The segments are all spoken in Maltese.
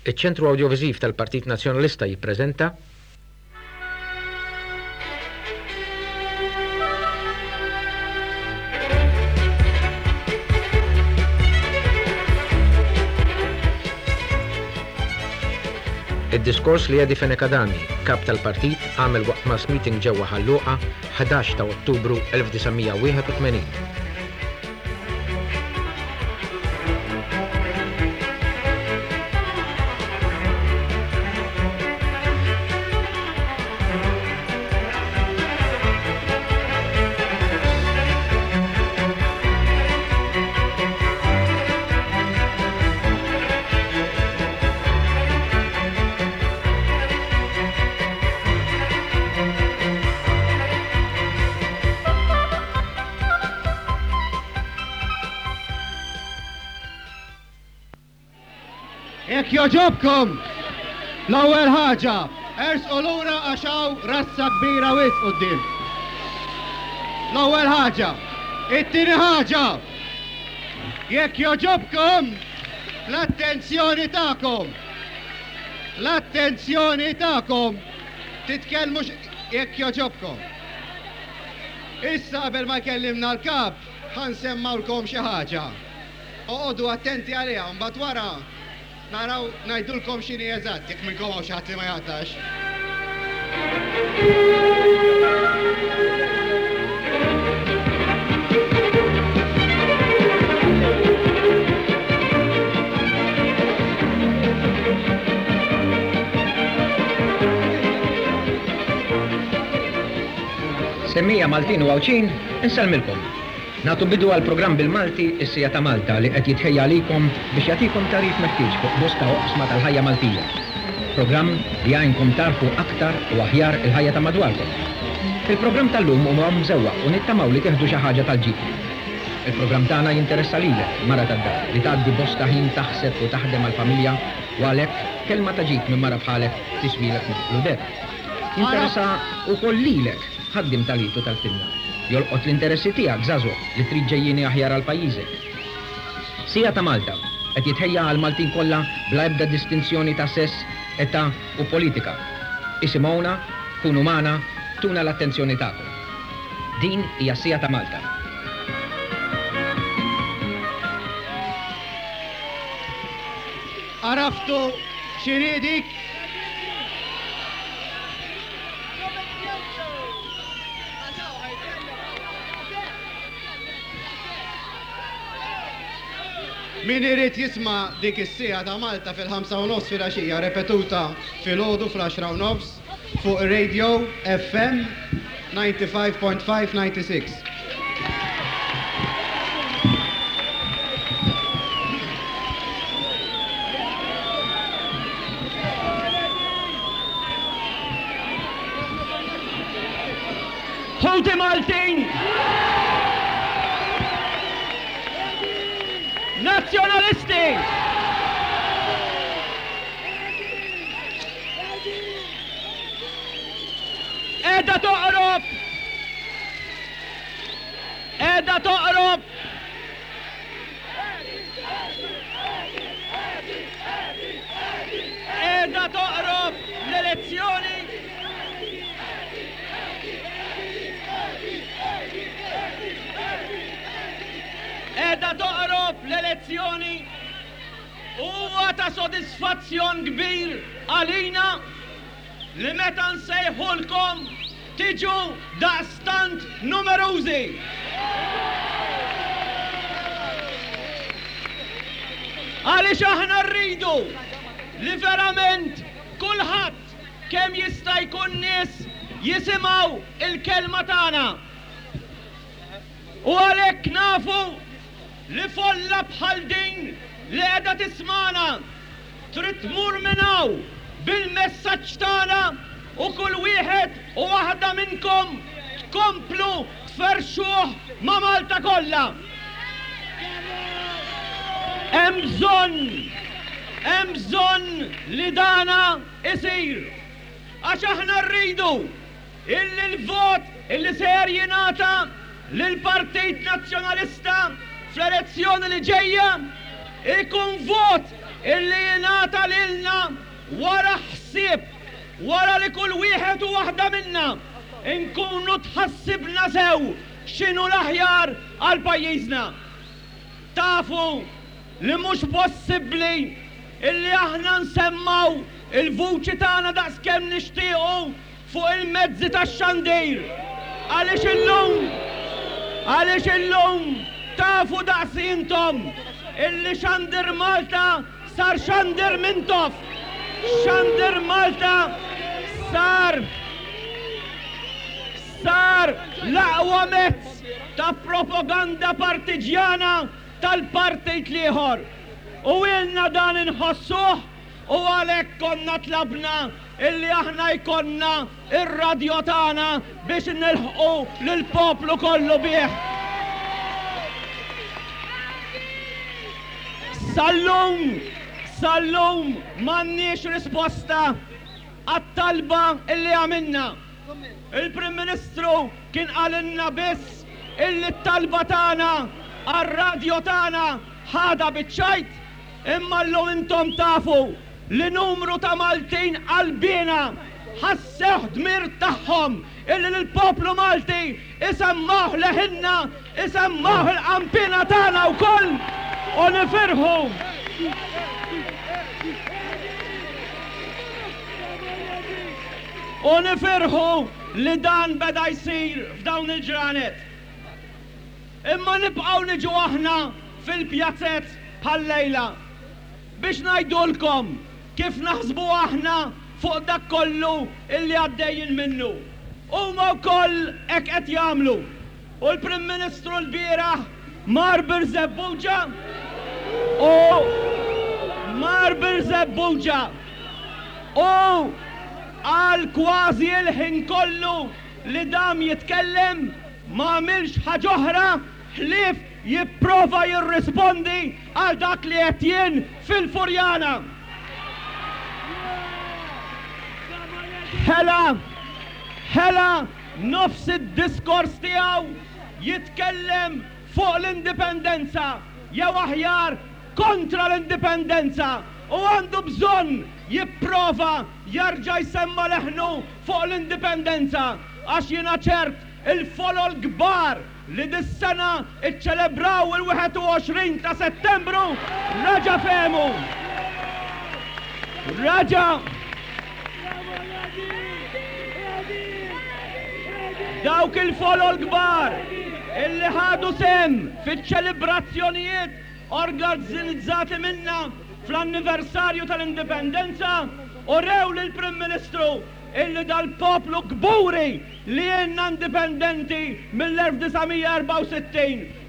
Iċ-Ċentru Awdjoviżiv tal-Partit Nazzjonalista jippreżenta. Id-diskors li Eddie Fenech Adami, Kap tal-Partit, għamel waqt mass meeting ġewwa Ħal Luqa, 11 ta' Ottubru 1981. Jekk jogħġobkom, l-ewwel ħaġa, ersqu lura għax hawn razza kbira wisq quddiem. L-ewwel ħaġa. It-tieni ħaġa, jekk jogħġobkom, l-attenzjoni tagħkom. L-attenzjoni tagħkom. Titkellmux jekk jogħġobkom. Issa qabel ma jkellimna l-Kap, ħa nsemmgħulkom xi ħaġa. Oqogħdu attenti għaliha, mbagħad wara naraw ngħidulkom x'inhi eżatt, jekk minnkom hawn xi ħadd li ma jaqtax. Semmija Maltin u Għawdxin, insellmilkom. Nagħtu bidu għall-programm bil-Malti Is-Siegħa ta' Malta li qed jitħejja għalikom biex jagħtikom tagħrif meħtieġ fuq bosta oqsma tal-ħajja Maltija. Programm li jgħinkom tagħrfu aktar u aħjar il-ħajja ta' madwarkom. Il-programm tal-lum huwa mżewwaq u nittamaw li tieħdu xi ħaġa tal-ġid minnu. Il-programm tagħna jinteressa lilek, mara tad-dar, li tgħaddi bosta ħin taħseb u taħdem għall-familja u għalhekk kelma ta' ġid minn mara bħalek tiswielek mithqlu deheb. Jinteressa wkoll lilek, ħaddiem tal-id u tal-pinna. Jolqot l-interessi tiegħek, żagħżugħ, li trid ġejjieni aħjar għal pajjiżek. Siegħa ta' Malta qed jitħejja għall-Maltin kollha bla ebda distinzjoni ta' sess, età u politika. Isimgħuna, kunu magħna, tuna l-attenzjoni tagħkom. Din hija s-Siegħa ta' Malta. Għaraftu x'inhi dik? Min irid jisma' dik is-siegħa ta' Malta fil-ħamsa u nofs filgħaxija repetuta filgħodu fl-għaxra u nofs fuq Radio FM 95.5 96. Ħuti Maltin! Nazzjonalisti! Qiegħda toqrob! Qiegħda toqrob! Qiegħda toqrob l-elezzjoni! Qiegħda toqrob l-elezzjoni u huwa ta' sodisfazzjon kbir għalina li meta nsejħulkom tiġu daqstant numerużi. Għaliex aħna rridu li verament kulħadd kemm jista' jkun nies jisimgħu l-kelma tagħna. U għalhekk nafu li folla bħal din li qiegħda tismagħna trid tmur minn hawn bil-messaġġ tagħna u kull wieħed u waħda minnkom tkomplu tferrxuh ma' Malta kollha. Hemm bżonn, hemm bżonn li dana isir. Għax aħna rridu illi l-vot illi ser jingħata lill-Partit Nazzjonalista fl-elezzjoni li ġejja ikun vot. illi jingħata lilna wara ħsieb, wara li kull wieħed u waħda minna nkunu tħassibna sew x'inhu l-aħjar għal pajjiżna. Tafu li mhux possibbli illi aħna nsemmgħu l-vuċi tagħna daqskemm nixtiequ fuq il-mezzi tax-xandir għaliex illum għaliex illum tafu daqsi intom illi Xandir Malta sar Xandir Mintoff. Xandir Malta sar sar l-aqwa mezz ta' propaganda partiġjana tal-partit l-ieħor. U ilna dan inħossuh u għalhekk konna tlabna illi aħna jkollna r-radjo tagħna biex nilħqu lill-poplu kollu bih. Sal-lum, sal-lum m'għandniex risposta għat-talba illi għamilna. Il-Prim Ministru kien qalilna biss illi t-talba tagħna għar-radjo tagħna ħadha biċ-ċajt, imma llum intom tafu li numru ta' Maltin qalbiena ħassewh dmir tagħhom illi lill-poplu Malti isemmgħuh leħinna, isemmgħuh il-qanpiena tagħna wkoll u nifirħu. U nifirħu li dan beda jsir f'dawn il-ġranet. Imma nibqgħu niġu aħna fil-pjazez bħal-lejla biex ngħidulkom kif naħsbu aħna fuq dak kollu illi għaddejjin minnu. Huma wkoll hekk qed jagħmlu. U l-Prim Ministru lbieraħ mar Birżebbuġa u mar Birżebbuġa u qal kważi l-ħin kollu li dam jitkellem ma għamilx ħaġa oħra ħlief jipprova jirrispondi għal dak li għedt jien fil-Furjana. Ħela, ħela nofs id-diskors tiegħu jitkellem fuq l-Indipendenza, jew aħjar kontra l-Indipendenza, u għandu bżonn jipprova jerġa' jsemma' leħnu fuq l-Indipendenza, għax jiena ċert il-folol kbar li dis-sena ċċelebraw il-21 ta' Settembru reġa' fehmu. Reġa' Dawk il-folol kbar illi ħadu sehem fiċ-ċelebrazzjonijiet organizzati minna fl-anniversarju tal-Indipendenza urew lill-Prim Ministru illi dal-poplu kburi li ilna indipendenti mill-1964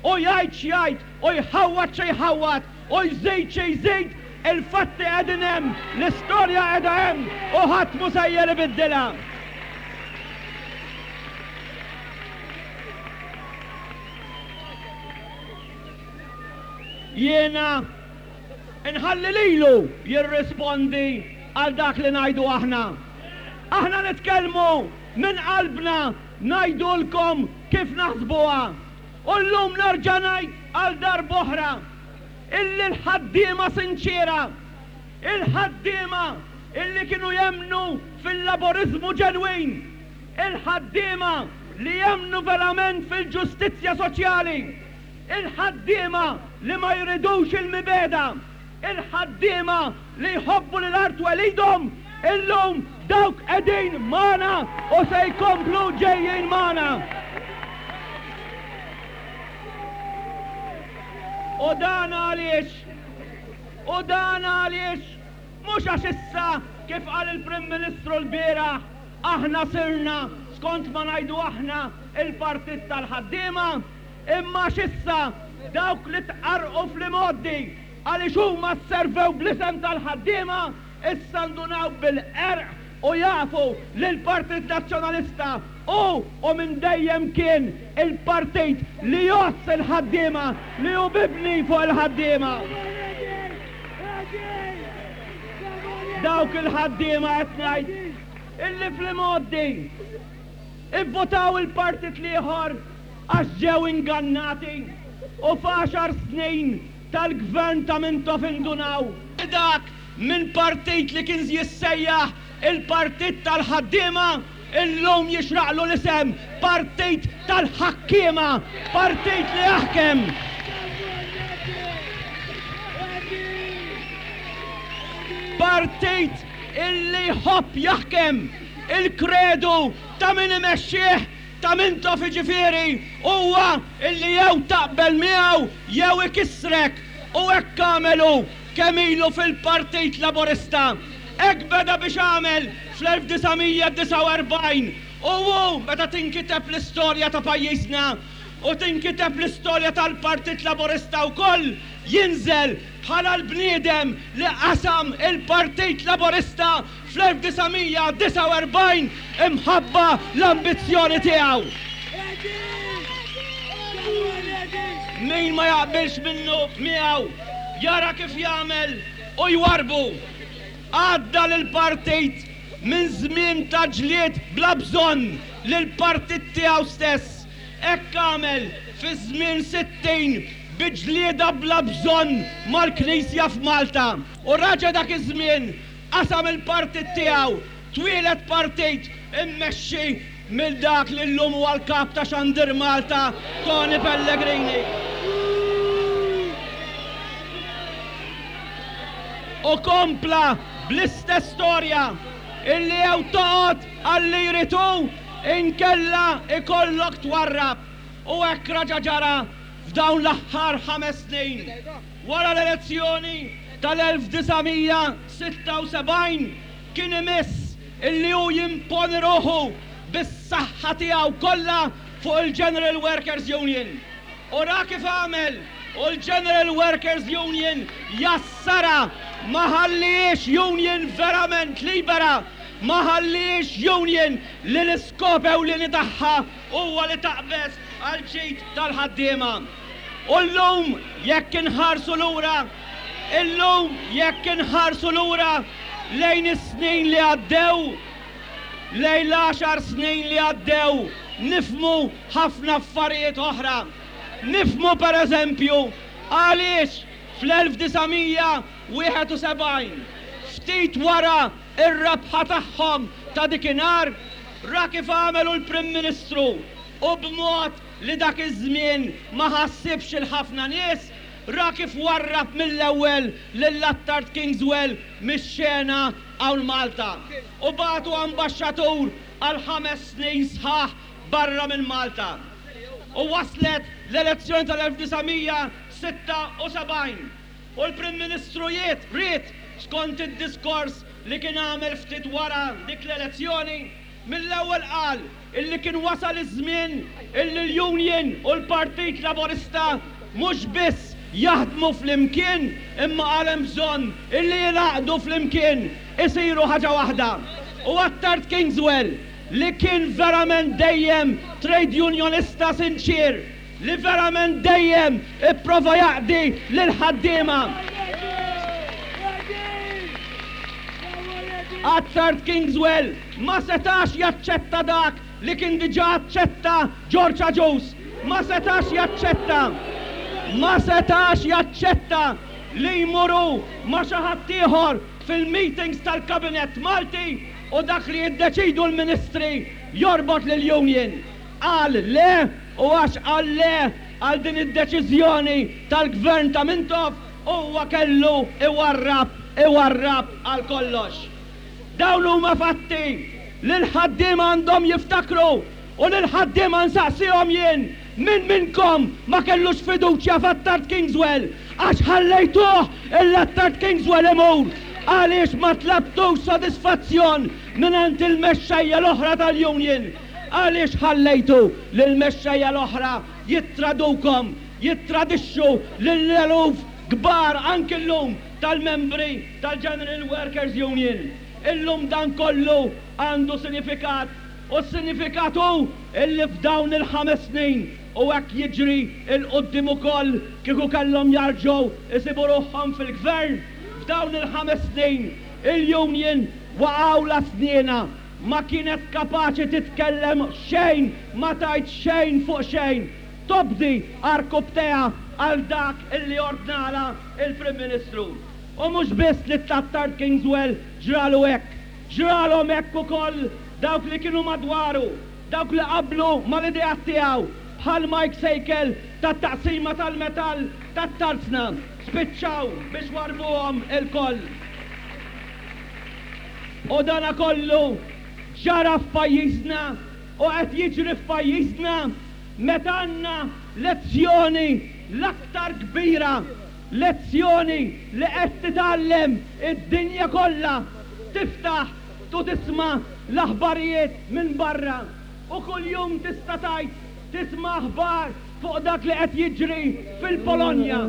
u jgħid x'jgħid u jħawwad xi jħawwad u jżid xi jżid, il-fatti qegħdin hemm, l-istorja qiegħda hemm u ħadd mhu sejjer ibiddilha. Jiena nħalli lilu jirrispondi għal dak li ngħidu aħna. Aħna nitkellmu minn qalbna ngħidulkom kif naħsbuha. U llum nerġa' ngħid għal darb'oħra illi l-ħaddiema sinċiera, il-ħaddiema illi kienu jemmnu fil-laboriżmu ġenwin, il-ħaddiema li jemmnu verament fil-ġustizzja soċjali, il-ħaddiema li ma jridux il-mibegħda, il-ħaddiema li jħobbu lil art twelidhom, illum dawk qegħdin magħna u se jkomplu ġejjin magħna. U dan għaliex? U dan għaliex? Mhux għax issa, kif qal il-Prim Ministru lbieraħ, aħna sirna, skont ma ngħidu aħna, il-partit tal-ħaddiema, Imma għax issa dawk li tqarrqu fl-imgħoddi għaliex huma sservew bl-isem tal-ħaddiema issa ndunaw bil-qerq u jafu li l-Partit Nazzjonalista hu u minn dejjem kien il-partit li jgħozz il-ħaddiema, li hu mibni fuq il-ħaddiema. Dawk il-ħaddiema qed ngħid illi fl-imgħoddi ivvutaw il-partit l-ieħor għax ġew ingannati u f'għaxar snin tal-Gvern ta' Mintoff indunaw. Dak minn partit li kien jissejjaħ il-Partit tal-Ħaddiema, illum jixraqlu l-isem Partit tal-Ħakkiema, partit li jaħkem. Partit illi jħobb jaħkem, il-kredu ta' min imexxih, ta' Mintoff jiġifieri, huwa illi jew taqbel miegħu jew ikissrek u hekk għamel hu kemm ilu fil-Partit Laburista. Hekk beda biex għamel fl-1949 u hu meta tinkiteb l-istorja ta' pajjiżna u tinkiteb l-istorja tal-Partit Laburista wkoll jinżel bħala l-bniedem li qasam il-Partit Laburista fl-1949 imħabba l-ambizzjoni tiegħu. Min ma jaqbilx minnu miegħu jara kif jagħmel u jwarrbu. Għadda lill-partit minn żmien ta' ġlied bla bżonn lill-partit tiegħu stess. Hekk għamel fiż-żmien 60 bi ġlieda bla bżonn mal-Knisja f'Malta. U raġa' dak iż-żmien qasam il-partit tiegħu, twieled partit immexxi minn dak li llum huwa l-Kap ta' Xandir Malta, Tony Pellegrini. U kompla bl-istess storja, illi jew toqgħod għal li jrid hu, inkella ikollok twarrab. U hekk raġa' ġara f'dawn l-aħħar ħames snin. Wara l-elezzjoni tal-1976 kien imiss illi hu jimponi ruħu bis-saħħa tiegħu kollha fuq il-General Workers Union. U ra kif għamel u l-General Workers Union jassarha, ma ħallihiex union verament libera, ma ħallihiex union li l-iskop ewlieni tagħha huwa li taqbeż għall-ġid tal-ħaddiema. U llum jekk inħarsu lura, illum jekk inħarsu lura lejn is-snin li għaddew, lejn l-għaxar snin li għaddew, nifhmu ħafna affarijiet oħra. Nifhmu per eżempju għaliex fl-1971, ftit wara r-rebħa tagħhom ta' dikinhar, ra kif għamel hu l-Prim Ministru u b'mod li dak iż-żmien ma ħassibx 'il ħafna nies, ra kif warrab mill-ewwel lil Attard Kingswell mix-xena hawn Malta u bagħtu ambaxxatur għal ħames snin sħaħ barra minn Malta. U waslet l-elezzjoni tal-1976 u l-Prim Ministru jiet ried, skont id-diskors li kien għamel ftit wara dik l-elezzjoni, Mill-ewwel qal illi kien wasal iż-żmien illi l-Union u l-Partit Laburista mhux biss jaħdmu flimkien imma qal hemm bżonn illi jingħaqdu flimkien, isiru ħaġa waħda. U Attard Kingswell li kien verament dejjem trade unionista sinċier, li verament dejjem ipprova jaqdi lill-ħaddiema. Attard Kingswell ma setax jaċċetta dak li kien diġà aċċetta George Agius. Ma setax jaċċetta, ma setax jaċċetta li jmur hu ma' xi ħadd ieħor fil-meetings tal-Kabinett Malti u dak li jiddeċidu l-Ministri jorbot lill-Union. Qal le u għax qal le għal din id-deċiżjoni tal-Gvern ta' Mintoff, huwa kellu iwarrab, iwarrab għal kollox. Dawn huma fatti li l-ħaddiema għandhom jiftakru u lill-ħaddiema nsaqsihom jien, min minnkom ma kellux fiduċja f'Attard Kingswell għax ħallejtuh 'l Attard Kingswell imur? Għaliex ma tlabtux sodisfazzjon mingħand il-mexxejja l-oħra tal-union? Għaliex ħallejtu lill-mexxejja l-oħra jittradukom, jittradixxu lill-eluf kbar anki llum tal-membri tal-General Workers Union? Illum dan kollu għandu sinifikat u s-sinifikat hu illi f'dawn il-ħames snin, u hekk jiġri 'l quddiem ukoll kieku kellhom jarġgħu jsibu ruħhom fil-Gvern, f'dawn il-ħames snin il-union waqgħulha snienha, ma kienet kapaċi titkellem xejn, ma tgħid xejn fuq xejn, tobdi għarkupptejha għal dak illi ordnalha il-Prim Ministru. U mhux biss lit-Attard Kingswell ġralu hekk, ġralhom hekk ukoll dawk li kienu madwaru, dawk li qablu mal-ideat tiegħu, bħal Mike Sejkel tat-Taqsima tal-Metall tat-Tarzna, spiċċaw biex warrbuhom ilkoll. U dana kollu ġara f'pajjiżna u qed jiġri f'pajjiżna meta għandna lezzjoni l-aktar kbira, lezzjoni li qed titgħallem id-dinja kollha, tiftaħ u tisma' l-aħbarijiet minn barra u kuljum tista' tgħid tisma' aħbar fuq dak li qed jiġri fil-Polonja.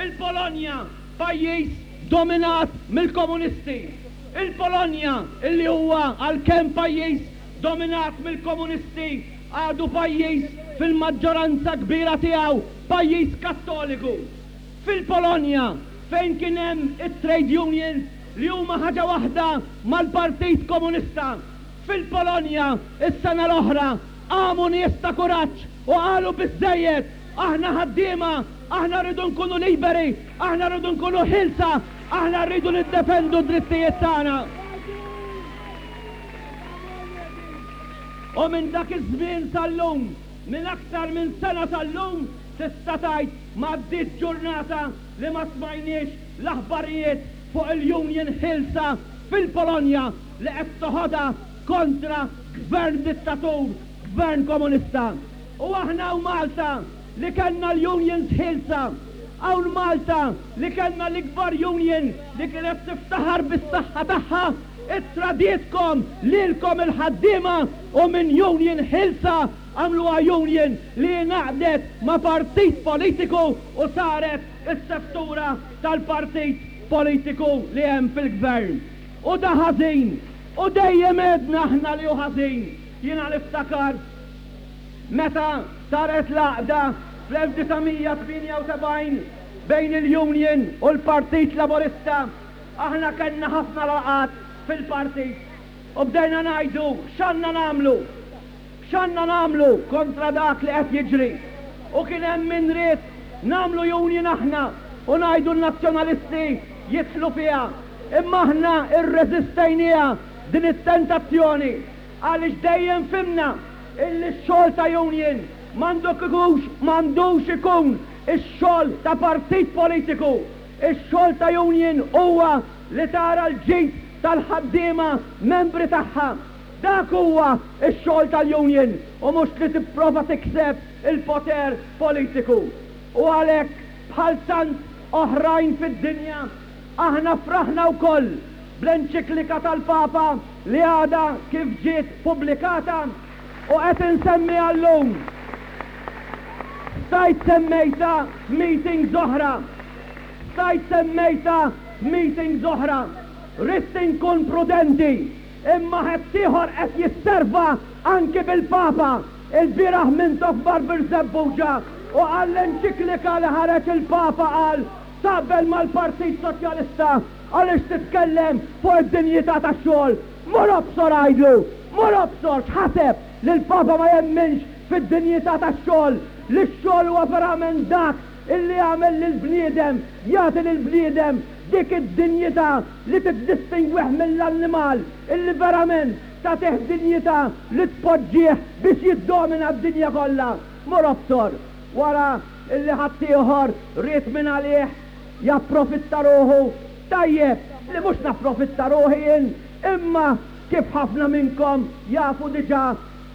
Il-Polonja, pajjiż dominat mill-komunisti. Il-Polonja, illi huwa għalkemm pajjiż dominat mill-komunisti, għadu pajjiż fil-maġġoranza kbira tiegħu pajjiż Kattoliku. Fil-Polonja, fejn kien hemm it-trade unions li huma ħaġa waħda mal-Partit Komunista, fil-Polonja s-sena l-oħra qamu nies ta' kuraġġ u qalu biżżejjed, aħna ħaddiema, aħna rridu nkunu liberi, aħna rridu nkunu ħielsa, aħna rridu niddefendu d-drittijiet tagħna. U minn dak iż-żmien sal-lum, minn aktar minn sena sal-lum, tista' tgħid m'għaddietx ġurnata li ma smajniex l-aħbarijiet fuq il-union ħielsa fil-Polonja li qed toħodha kontra gvern dittatur, gvern komunista. U aħna hawn Malta li kellna l-unions ħielsa, hawn Malta li kellna l-ikbar union li kienet tiftaħar bis-saħħa tagħha, Ittradietkom lilkom il-ħaddiema u minn union ħielsa għamluha union li ingħaqdet ma' partit politiku u saret is-seftura tal-partit politiku li hemm fil-gvern. U da ħażin. U dejjem għedna aħna li hu ħażin. Jiena niftakar meta saret l-għaqda fl-1978 bejn il-union u l-Partit Laburista, Aħna kellna ħafna laqgħat fil-partit u bdejna ngħidu x'għandna nagħmlu? X'għandna nagħmlu kontra dak li qed jiġri? U kien hemm min ried nagħmlu union aħna u ngħidu n-Nazzjonalisti jidħlu fiha. Imma aħna rreżistejnieha din it-tentazzjoni għaliex dejjem fhimna illi x-xogħol ta' union m'għandux ikun ix-xogħol ta' partit politiku. Ix-xogħol ta' union huwa li tara l-ġid tal-ħaddiema membri tagħha. Dak huwa x-xogħol tal-union u mhux li tipprova tikseb il-poter politiku. U għalhekk, bħal tant oħrajn fid-dinja, aħna fraħna wkoll bl-enċiklika tal-Papa li għadha kif ġiet pubblikata u qed insemmiha llum. Stajt semmejtha f'meetings oħra. Stajt semmejtha f'meetings oħra. Ridt inkun prudenti, imma ħaddieħor qed jisserva anki bil-Papa. Ilbieraħ Mintoff mar Birżebbuġa u qal l-enċiklika li ħareġ il-Papa qal taqbel mal-Partit Soċjalista għaliex titkellem fuq id-dinjità tax-xogħol. Mur obsor għidlu! Mur obsor! X'ħaseb? Li l-Papa ma jemminx fid-dinjità tax-xogħol? Li x-xogħol huwa verament dak illi jagħmel lill-bniedem, jagħti lill-bniedem dik id-dinjità li tiddistingwih mill-annimal, illi verament tagħtih dinjità li tpoġġih biex jiddomina d-dinja kollha. Mur obsor! Wara illi ħaddieħor ried mingħalih japprofitta ruħu, tajjeb li mhux napprofitta ruħi jien, imma kif ħafna minnkom jafu diġà,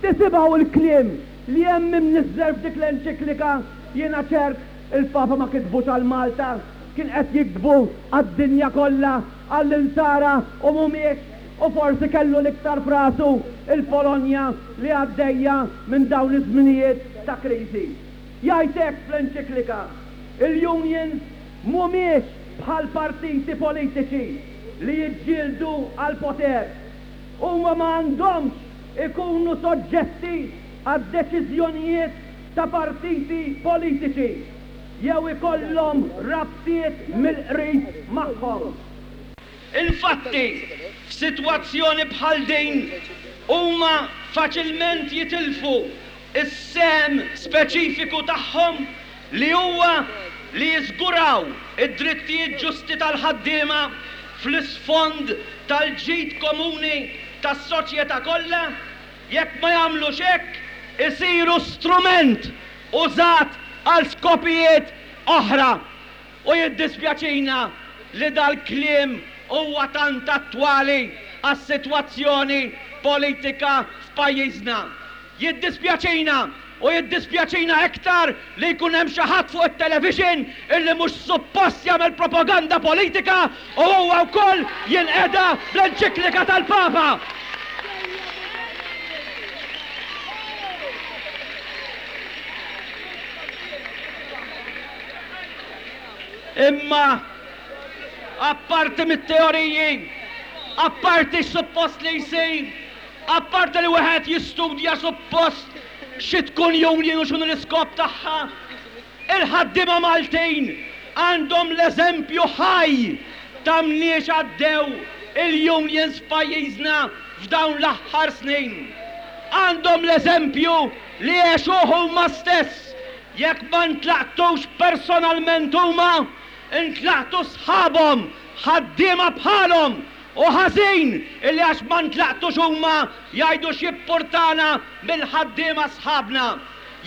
tisimgħu l-kliem li hemm imniżżel f'dik l-enċiklika, jiena ċert il-Papa ma kitbux għal Malta, kien qed jiktbu għad-dinja kollha, għall-Insara u mhumiex, u forsi kellu l-iktar f'rasu l-Polonja li għaddejja minn dawn iż-żminijiet ta' kriżi. Jgħid hekk fl-enċiklika, Il-unions mhumiex bħal partiti politiċi li jiġġieldu għall-poter. Huma ma għandhomx ikunu soġġetti għad-deċiżjonijiet ta' partiti politiċi jew ikollhom rabtiet mill-qrib magħhom. Infatti, f'sitwazzjoni bħal din, huma faċilment jitilfu s-sehem speċifiku tagħhom li huwa li jiżguraw id-drittijiet ġusti tal-ħaddiema fl-isfond tal-ġid komuni tas-soċjetà kollha, jekk ma jagħmlux hekk, isiru strument użat għal skopijiet oħra. U jiddispjaċina li dal-kliem huwa tant attwali għas-sitwazzjoni politika f'pajjiżna. Jiddispjaċina, u jiddispjaċina iktar li jkun hemm xi ħadd fuq it-television illi mhux suppost jagħmel propaganda politika u huwa wkoll jinqeda bl-enċiklika tal-Papa. Imma apparti mit-teoriji, apparti x'suppost li jsir, Apparti li wieħed jistudja suppost xi tkun union u x'inhu l-iskop tagħha, il-ħaddiema Maltin għandhom l-eżempju ħaj ta' mniex għaddew il-unions f'pajjiżna f'dawn l-aħħar snin. Għandhom l-eżempju li għexuh huma stess, jekk ma ntlaqtux personalment huma, intlaqtu sħabhom, ħaddiema bħalhom Hu ħażin illi għax ma ntlaqtux huma jgħidu x'jippurtana mill-ħaddiema sħabna.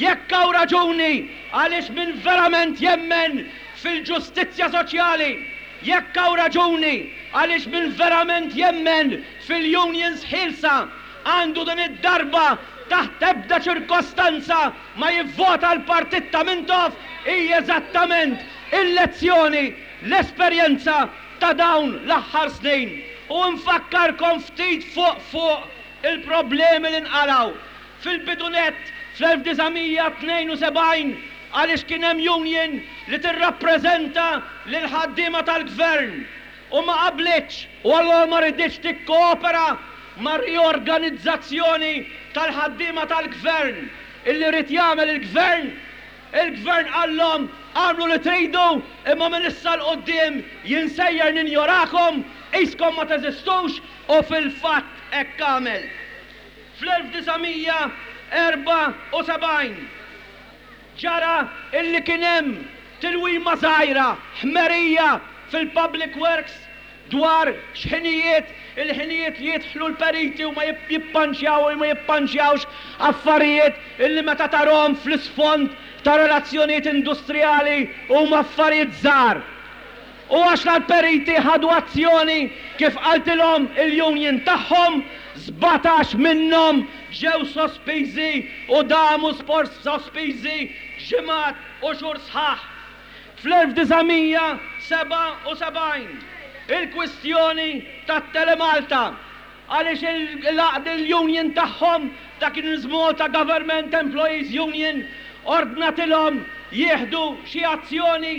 Jekk hawn raġuni għaliex min verament jemmen fil-ġustizzja soċjali, jekk hawn raġuni għaliex min verament jemmen fil-unions ħielsa għandu din id-darba taħt ebda ċirkostanza ma jivvota l-partit ta' Mintoff hi eżattament il-lezzjoni, l-esperjenza ta' dawn l-aħħar snin u nfakkarkom ftit fuq fuq il-problemi li nqalgħu. Fil-bidu nett, fl-1972, għaliex kien hemm union li tirrappreżenta lill-ħaddiema tal-Gvern u ma qablitx u allura ma riditx tikkoopera mar-riorganizzazzjoni tal-ħaddiema tal-Gvern illi ried jagħmel il-Gvern, Il-Gvern qallhom, agħmlu li tridu, imma minn issa 'l quddiem jien sejjer ninjorakom, qiskom ma teżistux, u fil-fatt hekk għamel. Fl-1974 ġara illi kien hemm tilwima żgħira, ħmerija, fil-Public Works dwar x'ħinijiet, il-ħinijiet li jidħlu l-periti u ma jippanċjaw u ma jippanċjawx, affarijiet illi meta tarhom fl-isfond ta' relazzjonijiet industrijali huma affarijiet żgħar. U għax la l-periti ħadu azzjoni kif qaltilhom il-union tagħhom, 17 minnhom ġew sospiżi u damu sospiżi ġimgħat u xhur sħaħ. Fl-1977, il-kwistjoni tat-Telemalta, għaliex l-għaqda l-union tagħhom, dak il-Malta Government Employees Union, ordnatilhom jieħdu xi azzjoni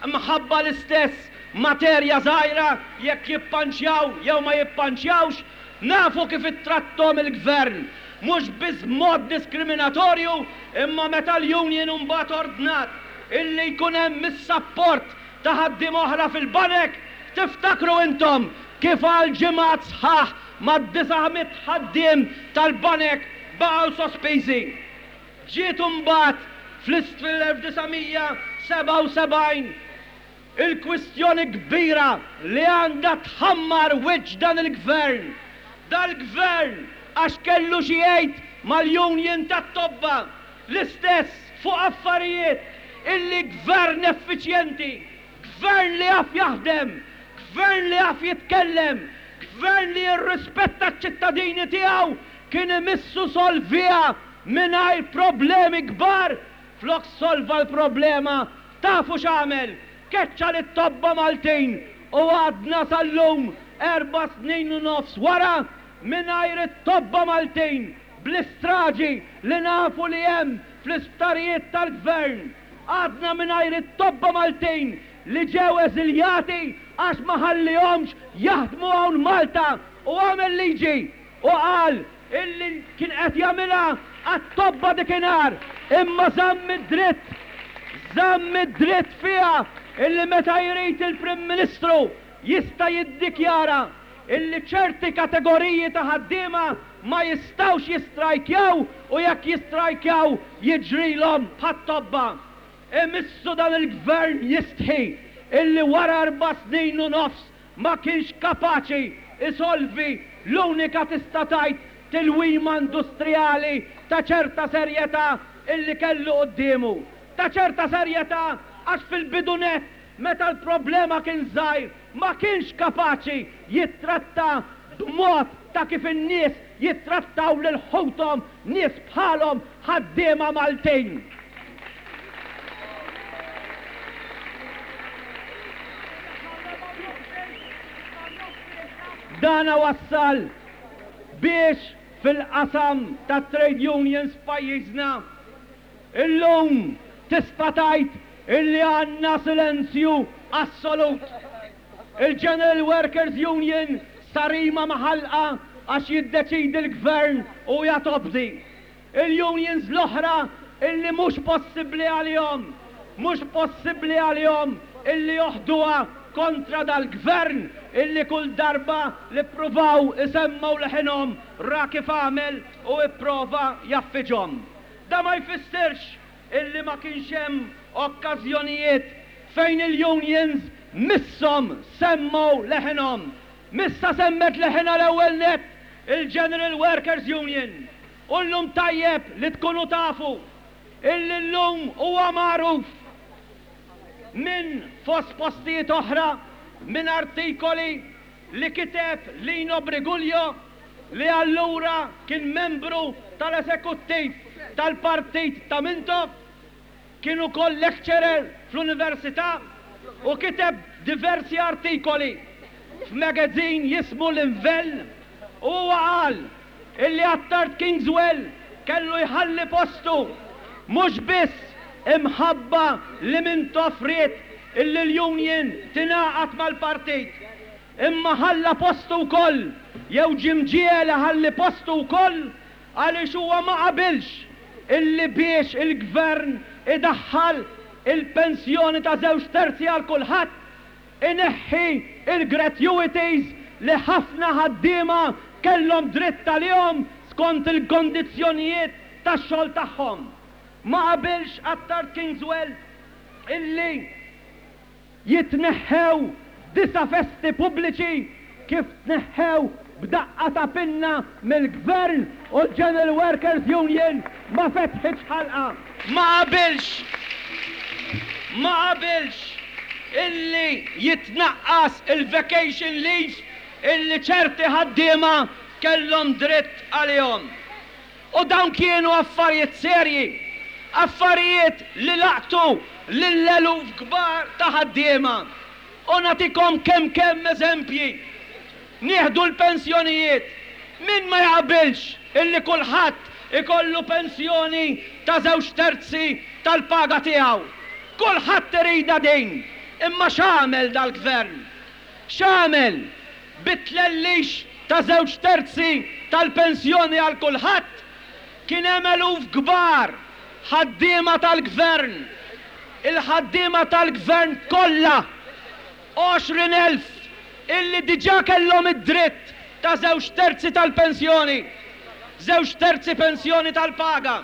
mħabba l-istess materja żgħira jekk jippanċjaw jew ma jippanċjawx, nafu kif ittratthom il-Gvern, mhux biss b'mod diskriminatorju imma meta l-union imbagħad ordnat illi jkun hemm is-sapport ta' ħaddiema oħra fil-banek, tiftakru intom kif għal ġimgħat sħaħ mad-900 ħaddiem tal-banek baqgħu sospiżi. Ġiet imbagħad fl-1977 il-kwistjoni kbira li għandha tħammar wiċċ dan il-Gvern. Dal-Gvern għax kellu xi jgħid mal-union tat-tobba L-istess fuq affarijiet illi gvern effiċjenti, gvern li jaf jaħdem, gvern li jaf jitkellem, gvern li jirrispetta ċ-ċittadini tiegħu kien imissu solviha mingħajr problemi kbar. Flok solva l-problema tafu x'għamel? Keċċa lit-tobba Maltin u għadna sal-lum erba' snin u nofs wara mingħajr it-tobba Maltin Bl-istraġi li nafu li hemm fl-isptarijiet tal-Gvern, għadna mingħajr it-tobba Maltin li ġew eżiljati għax ma ħallihomx jaħdmu hawn Malta u għamel liġi u qal illi kien qed jagħmilha għat-tobba dikinhar imma żamm id-dritt żamm id-dritt fiha illi meta jrid il-Prim Ministru jista' jiddikjara illi ċerti kategoriji ta' ħaddiema ma jistgħux jistrajkjaw u jekk jistrajkjaw jiġrilhom bħat-tobba. Imissu dan il-Gvern jistħi illi wara erba' snin u nofs ma kienx kapaċi jsolvi l-unika tista' tgħid tilwima industrijali ta' ċerta serjetà illi kellu quddiemu. Ta' ċerta serjetà għax fil-bidu nett meta l-problema kien żgħir ma kienx kapaċi jittratta b'mod ta' kif in-nies jittrattaw lil ħuthom nies bħalhom ħaddiema Maltin. Dana wassal biex fil-qasam tat-trade unions f'pajjiżna illum tista' tgħid illi għandna silenzju assolut. Il-General Workers Union sarima ma' ħalqha għax jiddeċiedi l-Gvern u hija tobdi. Il-unions l-oħra illi mhux possibbli għalihom, mhux possibbli għalihom illi joħduha kontra dal-Gvern illi kull darba li ppruvaw isemmgħu leħinhom ra kif għamel u ipprova jgħaffiġhom. Da ma jfissirx illi ma kienx hemm okkażjonijiet fejn il-unions misshom semmgħu leħinhom. Missha semmet leħinha l-ewwel nett il-General Workers Union. U llum tajjeb li tkunu tafu illi llum huwa magħruf minn fost postijiet oħra minn artikoli li kiteb Lino Briguglio li allura kien membru tal-esekuttiv tal-partit ta' Mintoff, kien ukoll lecturer fl-università u kiteb diversi artikoli f'magazine jismu L-Invell u huwa qal illi Attard Kingswell kellu jħalli postu mhux biss imħabba li Mintoff ried illi l-union tingħaqad mal-partit Imma ħalla postu wkoll, jew ġie mġiegħel iħalli postu wkoll għaliex huwa ma qabilx illi biex il-Gvern idaħħal il-pensjoni ta' żewġ terzi għal kulħadd, ineħħi l-gratuities li ħafna ħaddiema kellhom dritt għalihom skont il-kondizzjonijiet tax-xogħol tagħhom. Ma qabilx Attard Kingswell illi Jitneħħew disa' festi pubbliċi kif tneħħew b'daqqa ta' pinna mill-Gvern u l-General Workers Union ma fetħitx ħalqha. Ma qabilx ma qabilx illi jitnaqqas il-vacation leave illi ċerti ħaddiema kellhom dritt għalihom. U dawn kienu affarijiet serji, affarijiet li laqtu lil eluf kbar ta' ħaddiema. U nagħtikom kemm kemm eżempji. Nieħdu l-pensjonijiet. Min ma jaqbilx illi kulħadd ikollu pensjoni ta' żewġ terzi tal-paga tiegħu? Kulħadd iridha din. Imma x'għamel dal-Gvern? X'għamel? Bit-tlellix ta' żewġ terzi tal-pensjoni għal kulħadd, kien hemm eluf kbar ħaddiema tal-Gvern, il-ħaddiema tal-Gvern kollha, 20,000, illi diġà kellhom id-dritt ta' żewġ terzi tal-pensjoni, żewġ terzi pensjoni tal-paga,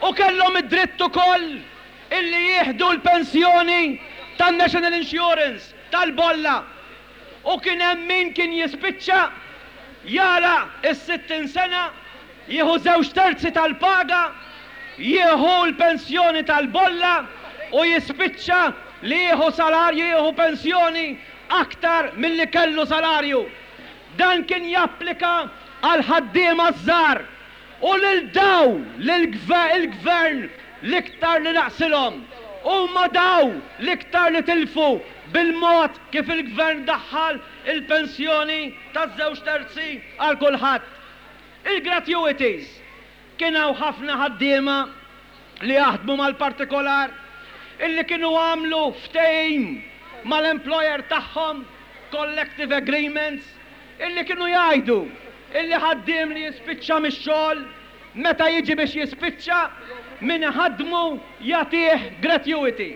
u kellhom id-dritt ukoll illi jieħdu l-pensjoni tan-National Insurance, tal-bolla. U kien hemm min kien jispiċċa jagħlaq is-sittin sena, jieħu żewġ terzi tal-paga, jieħu l-pensjoni tal-bolla u jispiċċa li jieħu salarju, jieħu pensjoni aktar milli kellu salarju. Dan kien japplika għall-ħaddiema ż-żgħar. U lil dawn li l-Gvern l-iktar li naqsilhom. Huma dawn l-iktar li tilfu bil-mod kif il-Gvern daħħal il-pensjoni ta' żewġ terzi għal kulħadd. Il-gratuities. Kien hawn ħafna ħaddiema li jaħdmu mal-partikolar illi kienu għamlu ftehim mal-employer tagħhom, collective agreements, illi kienu jgħidu illi ħaddiem li jispiċċa mix-xogħol, meta jiġi biex jispiċċa, min iħaddmu jagħtih gratuity.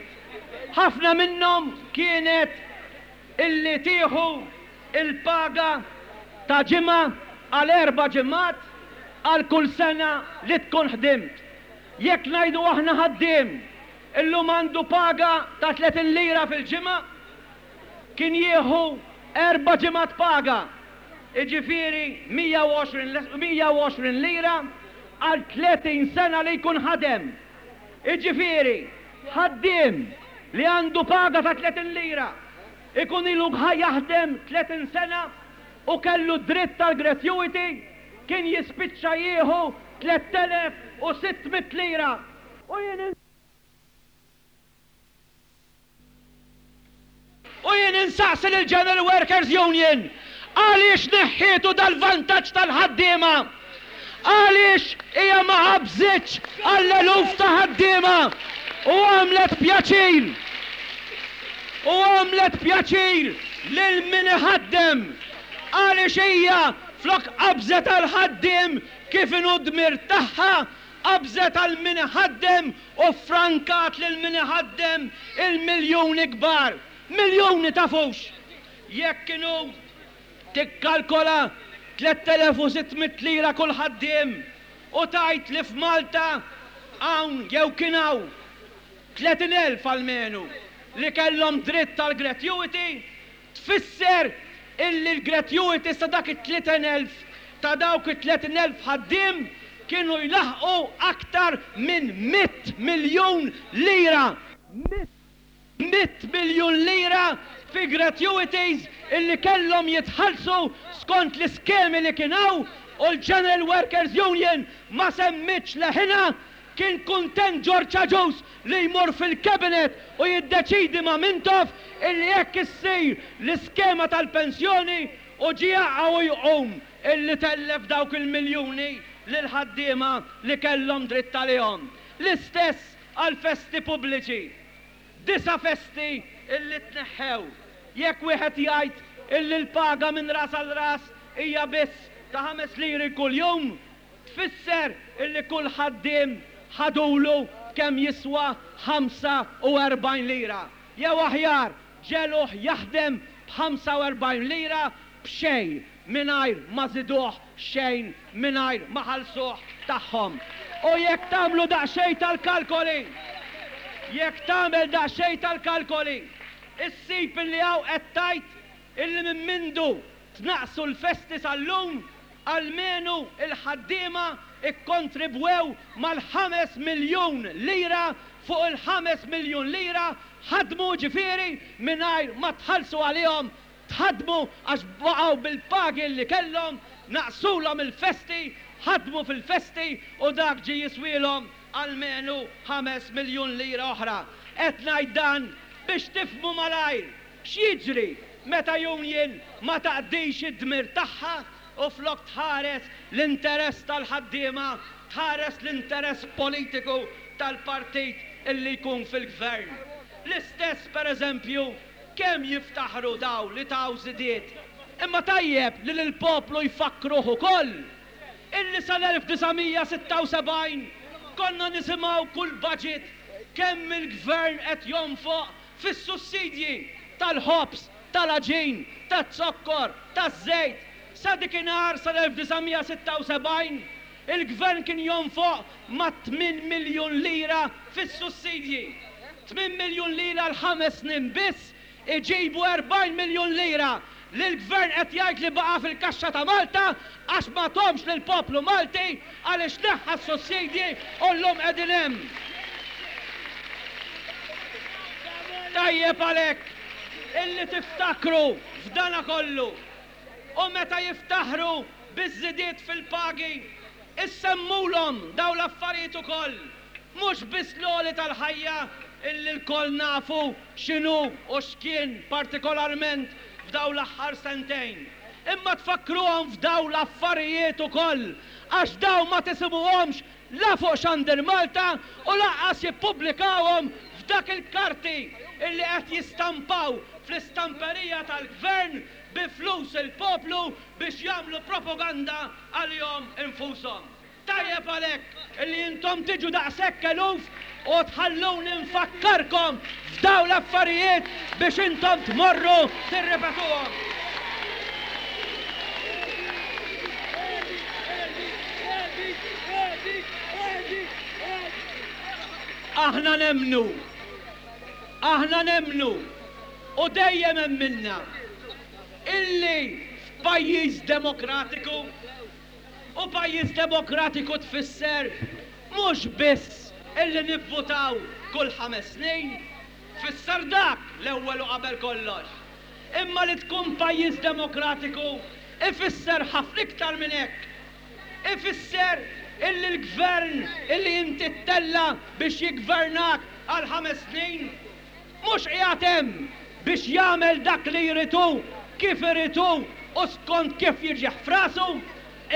Ħafna minnhom kienet illi tieħu l-paga ta' ġimgħa għal erba' ġimgħat għal kull sena li tkun ħdimt. Jekk ngħidu aħna ħaddiem. Illum għandu paga ta' 30 lira fil-ġimgħa, kien jieħu erba' ġimgħat paga, jiġifieri 120 lira għal 30 sena li jkun ħadem. Jiġifieri, ħaddiem li għandu paga ta' 30 lira, ikun ilu jaħdem 30 sena u kellu dritt għall-gratuity, kien jispiċċa jieħu 3,600 lira. U jien U jien insaqsi lill-General Workers Union, għaliex neħħietu dal-vantaġġ tal-ħaddiema? Għaliex hija ma qabżitx għall-eluf ta' ħaddiema u għamlet pjaċir u għamlet pjaċir lil min iħaddem? Għaliex hija flok qabżet għall-ħaddiem kif inhu dmir tagħha, qabżet għal min iħaddem u ffrankat lil min iħaddem il-miljuni kbar. Miljuni tafux! Jekk inhu tikkalkola 3,600 lira kull ħaddiem u tgħid li f'Malta hawn jew kien hawn 30,000 almenu li kellhom dritt għall-gratuity, Tfisser illi l-gratuities ta' dak it-30,000 ta' dawk it-30,000 ħaddiem kienu jlaħħqu aktar minn mitt miljun lira! Mitt miljun lira fi gratuities illi kellhom jitħallsu skont l-iskemi li kien hawn u l-General Workers Union ma semmietx leħinha Kien kuntent George Agius li jmur fil-Cabinet u jiddeċiedi ma' Mintoff illi hekk issir l-iskema tal-pensjoni u ġie jaqa' u jqum illi tellef dawk il-miljuni lill-ħaddiema li kellhom dritt għalihom. L-istess għall-festi pubbliċi. Disa' festi illi tneħħew. Jekk wieħed jgħid illi l-paga minn ras għal ras hija biss ta' ħames liri kuljum, Tfisser illi kull ħaddiem ħadulu kemm jiswa 45 lira. Jew aħjar, ġegħluh jaħdem b'45 lira b'xejn mingħajr ma żiduh xejn mingħajr ma ħallsuh tagħhom. U jekk tagħmlu daqsxejn tal-kalkoli, jekk tagħmel daqsxejn tal-kalkoli, issib illi hawn qed tgħid illi minn mindu tnaqqsu l-festi sal-lum, Almenu l-ħaddiema kkontribwew mal-ħames miljun lira fuq il-ħames miljun lira ħadmu ġifieri mingħajr ma tħallsu għalihom, tħaddmu għax baqgħu bil-pagi li kellhom, naqsulhom il-festi, ħadmu fil-festi u dak ġie jiswielhom almenu 5 miljun lira oħra. Qed ngħid dan biex tifhmu malajr X'jiġri meta union ma taqdix id-dmir tagħha u flok tħares l-interess tal-ħaddiema tħares l-interess politiku tal-partit illi jkun fil-gvern? L-istess per eżempju kemm jiftaħru daw li taw żidiet. Imma tajjeb li lill-poplu jfakkruh ukoll illi sal-1976 konna nisimgħu kull budget kemm il-gvern qed jonfoq fis-sussidji tal-ħobż, tal-għaġin, taz-zokkor, taż-żejt. Sa dikinhar, sal-1976, il-Gvern kien jonfoq mat-tmien miljun lira fis-sussidji. Tmien miljun lira għal ħames snin biss iġibu 40 miljun lira li l-Gvern qed jgħid li baqa' fil-kaxxa ta' Malta għax ma thomx lill-poplu Malti għaliex neħħa s-sussidji u llum qegħdin hemm. Tajjeb għalhekk illi tiftakru f'dana kollu u meta jiftaħru biż-żidiet fil-pagi issemmulhom dawn l-affarijiet ukoll. Mhux biss l-għoli tal-ħajja illi lkoll nafu x'inhu u x'kien partikolarment f'dawn l-aħħar sentejn, imma tfakkruhom f'dawn l-affarijiet ukoll għax dawn ma tisimgħuhomx la fuq Xandir Malta u lanqas jippubblikawhom f'dak il-karti illi qed jistampaw fl-istamperija tal-Gvern bi flus il-poplu biex jagħmlu propaganda għalihom infushom. Tajjeb għalhekk li intom tiġu daqshekk eluf u tħalluni nfakkarkom f'dawn l-affarijiet biex intom tmorru tirripetuhom. Aħna nemmnu. Aħna nemmnu, u dejjem emminna, illi f'pajjiż demokratiku, u pajjiż demokratiku tfisser mhux biss illi nivvutaw kull ħames snin, tfisser dak l-ewwel u qabel kollox, imma li tkun pajjiż demokratiku ifisser ħafna iktar minn hekk. Ifisser illi l-gvern illi inti ttella' biex jiggvernak għal ħames snin, mhux qiegħed hemm biex jagħmel dak li jrid hu, kif irid hu u skont kif jiġih f'rasu,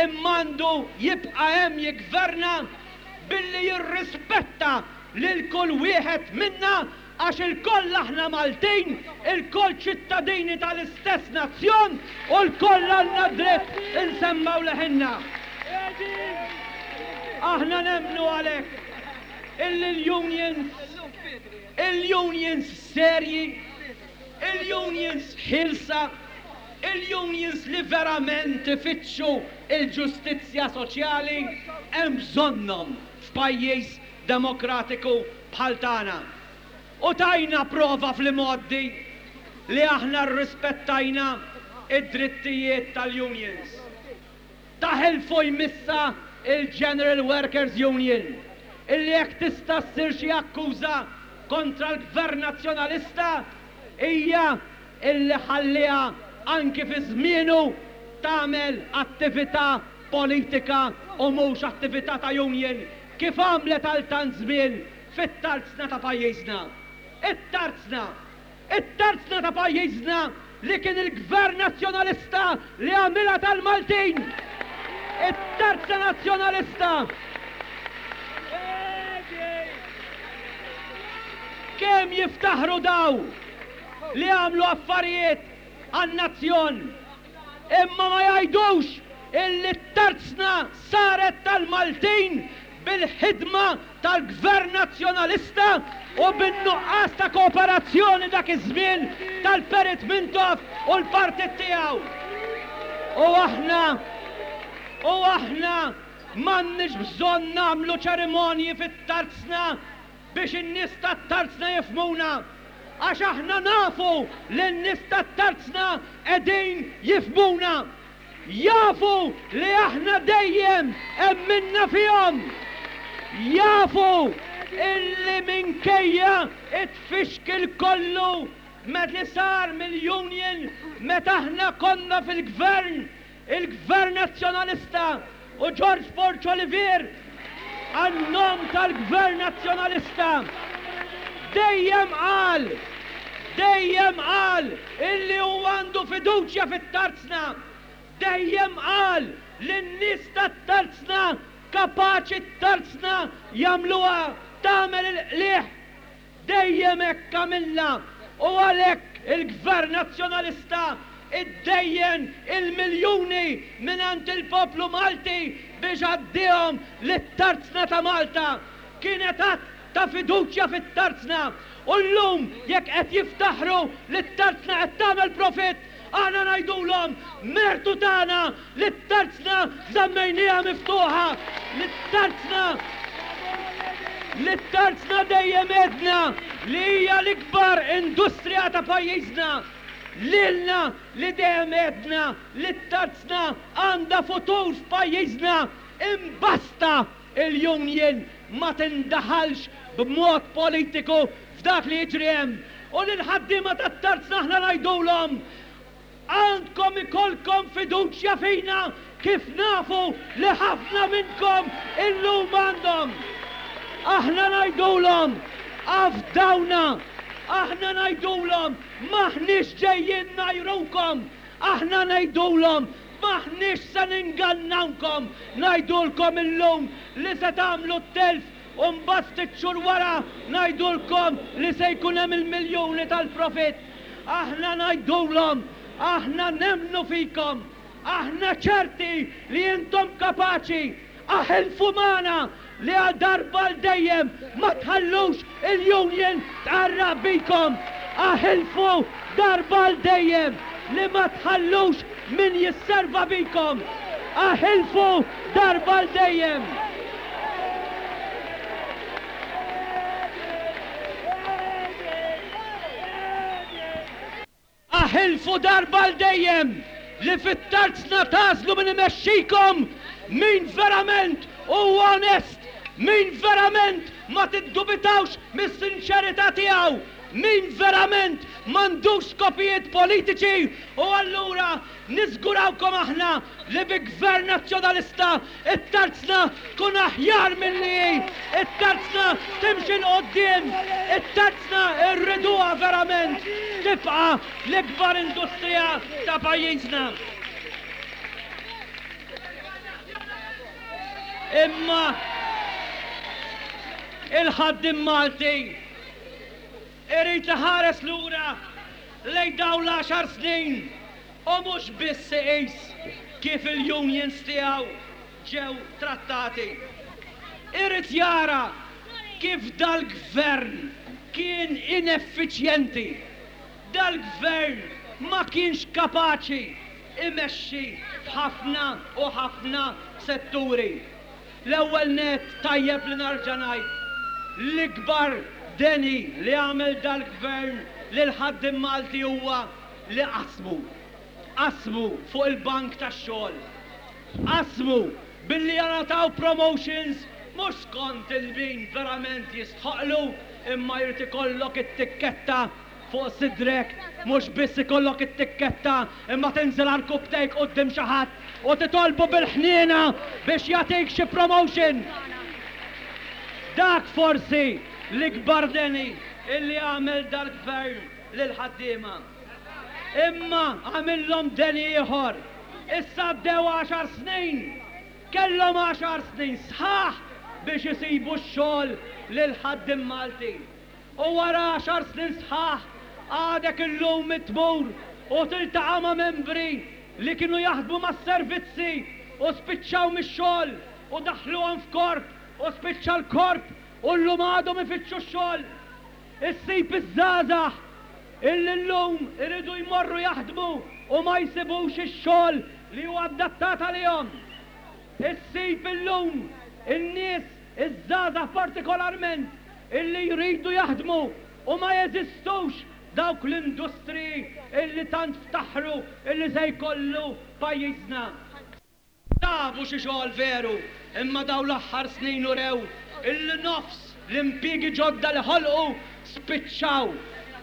imma għandu jibqa' hemm jiggverna billi jirrispetta lil kull wieħed minna Għax ilkoll aħna Maltin, ilkoll ċittadini tal-istess nazzjon u lkoll għandna dritt insemmgħu leħinna. Aħna nemmnu għalhekk illi l-unions, il-unions serji, il-unions ħielsa, il-unions li verament ifittxu l-ġustizzja soċjali hemm bżonnhom f'pajjiż demokratiku bħal tagħna. U tajna prova fl-imgħoddi li aħna rrispettajna d-drittijiet tal-unions. Taħilfu jmissha il-General Workers Union illi jekk tista' ssir xi akkuża kontra l-Gvern Nazzjonalista hija illi ħalliha anki fi żmienu tagħmel attività politika u mhux attività ta' union kif għamlet għal tant żmien fit-tarzna ta' pajjiżna. It-tarzna! It-tarzna ta' pajjiżna li kien il-Gvern Nazzjonalista li għamilha tal-Maltin! It-tarzna Nazzjonalista! Kemm jiftaħru daw li għamlu affarijiet għan-nazzjon! Imma ma jgħidux illi t-tarzna saret tal-Maltin bil-ħidma tal-Gvern Nazzjonalista u bin-nuqqas ta' kooperazzjoni dak iż-żmien tal-Perit Mintoff u l-partit tiegħu. U aħna, u aħna m'għandniex bżonn nagħmlu ċerimonji fit-tarzna biex in-nies tat-tarzna jifhmuna, għax aħna nafu li n-nies tat-tarzna qegħdin jifhmuna. Jafu li aħna dejjem emminna fihom. Jafu illi minkejja t-tfixkil kollu li sar mill-union meta aħna konna fil-gvern, Il-Gvern Nazzjonalista u George Borg Olivier għan-nom tal-Gvern Nazzjonalista dejjem qal, dejjem qal illi hu għandu fiduċja fit-Tarzna, dejjem qal li n-nies tat-Tarzna kapaċi t-Tarzna jagħmluha tagħmel il-qligħ. Dejjem hekk għamilna u għalhekk il-Gvern Nazzjonalista ddejjen il-miljuni mingħand il-poplu Malti biex għaddiehom lit-Tarzna ta' Malta. Kienet att ta' fiduċja fit-Tarzna u llum jekk qed jiftaħru li t-Tarzna qed tagħmel profitt, aħna ngħidulhom mertu tagħna li t-tarzna żammejnieha miftuħa, li t-tarzna li t-tarzna dejjem għedna li hija l-ikbar industrija ta' pajjiżna, lilna li dejjem għedna li t-tarzna għandha futur f'pajjiżna, imbasta il-union ma tindaħalx b'mod politiku f'dak li jiġri hemm. U lill-ħaddiema tat-tarzna aħna ngħidulhom, Għandkom ikollkom fiduċja fina kif nafu li ħafna minnkom illum għandhom. Aħna ngħidulhom, afdawna. Aħna ngħidulhom, m'aħniex ġejjin ngħajrukom. Aħna ngħidulhom, m'aħniex se ningannawkom. Ngħidulkom illum li se tagħmlu t-telf u mbagħad ftit xhur wara ngħidulkom li se jkun hemm il-miljuni tal-profitt. Aħna ngħidulhom, aħna nemmnu fikom, aħna ċerti li intom kapaċi, aħilfu magħna li għal darba għal dejjem ma tħallux il-union tqarraq bikom, aħilfu darba għal dejjem li ma tħallux min jisserva bikom, aħilfu darba għal dejjem. Tilfu darba għal dejjem li fit-tarzna tagħżlu min imexxikom, min verament huwa onest, min verament ma tiddubitawx mis-sinċerità tiegħu, min verament m'għandux skopijiet politiċi u allura Niżgurawkom aħna li bi Gvern Nazzjonalista t-tarzna tkun aħjar milli hi, it-tarzna timxi 'l quddiem, it-tarzna rriduha verament tibqa' l-ikbar industrija ta' pajjiżna. Imma il-ħaddiem Malti irid iħares lura lejn dawn l-għaxar snin u mhux biss iqis kif il-unions tiegħu ġew trattati. Irid jara kif dal-Gvern kien ineffiċjenti. Dal-Gvern ma kienx kapaċi imexxi f'ħafna u ħafna setturi. L-ewwel nett tajjeb li narġa' ngħid, l-ikbar deni li għamel dal-Gvern lill-ħaddiem Malti huwa li qasmu. Qasmu fuq il-bank tax-xogħol. Qasmu billi jingħataw promotions mhux skont il-min verament jistħoqqlu imma jrid ikollok it-tikketta fuq sidrek, mhux biss ikollok it-tikketta imma tinżel għarkupptejk quddiem xi ħadd u titolbu bil-ħniena biex jagħtik xi promotion. Dak forsi l-ikbar deni illi għamel dal-Gvern lill-ħaddiema. Imma għamillhom deni ieħor. Issa għaddew għaxar snin. Kellhom għaxar snin sħaħ biex isibu x-xogħol lill-ħaddiem Malti. U wara għaxar snin sħaħ għadek illum tmur u tiltaqa' ma' membri li kienu jaħdmu mas-servizzi u spiċċaw mix-xogħol u daħħluhom f'korp u spiċċa l-korp u llum għadhom ifittxu x-xogħol. Issib iż-żgħażagħ illi llum iridu jmorru jaħdmu u ma jsibux ix-xogħol li hu adattat għalihom. Issib illum in-nies, iż-żgħażagħ partikolarment, illi jridu jaħdmu u ma jeżistux dawk l-industriji illi tant ftaħru illi se jkollu pajjiżna. Sabu xi xogħol veru, imma dawn l-aħħar snin urew illi nofs l-impjiegi ġodda li ħolqu spiċċaw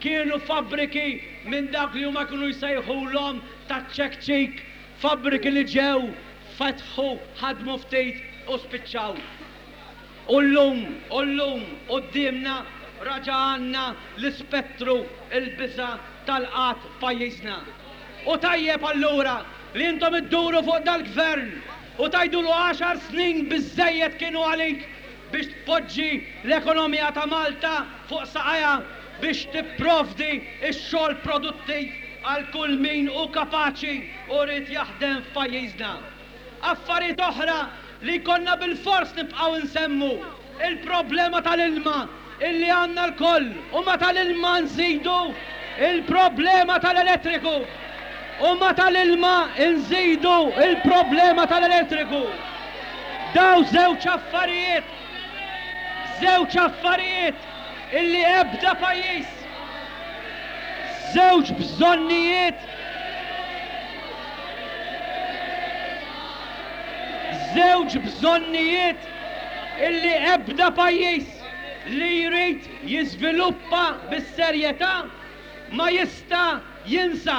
kienu fabbriki minn dawk li huma kienu jsejħulhom taċ-ċekċik, fabbriki li ġew, fetħu, ħadmu ftit u spiċċaw. U llum, u llum, quddiemna raġa' għandna l-ispettru, il-biża' tal-qgħad f'pajjiżna. U tajjeb allura li intom idduru fuq dal-Gvern u tgħidulu għaxar snin biżżejjed kienu għalik biex tpoġġi l-ekonomija ta' Malta fuq saqajha biex tipprovdi x-xogħol produttiv għal kull min hu kapaċi u ried jaħdem f'pajjiżna. Affarijiet oħra li jkollna bilfors nibqgħu nsemmu, il-problema tal-ilma illi għandna lkoll u ma' tal-ilma nżidu il-problema tal-elettriku. U ma' tal-ilma nżidu il-problema tal-elettriku. Daw żewġ affarijiet, żewġ affarijiet illi ebda pajjiż, żewġ bżonnijiet, Żewġ bżonnijiet illi ebda pajjiż li jrid jiżviluppa bis-serjetà ma jista' jinsa.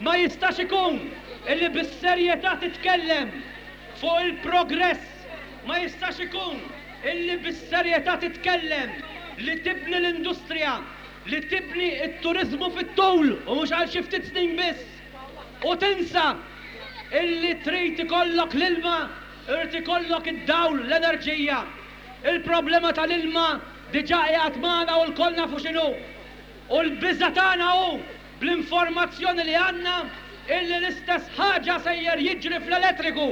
Ma jistax ikun illi bis-serjetà titkellem fuq il-progress, ma jistax ikun illi bis-serjetà titkellem li tibni l-industrija, li tibni t-turiżmu fit-tul u mhux għal xi ftit snin biss u tinsa illi trid ikollok l-ilma, irid ikollok id-dawl, l-enerġija. Il-problema tal-ilma diġà qiegħed magħna u lkoll nafu x'inhu. U l-biża' tagħna hu, bl-informazzjoni li għandna, illi l-istess ħaġa sejjer jiġri fl-elettriku.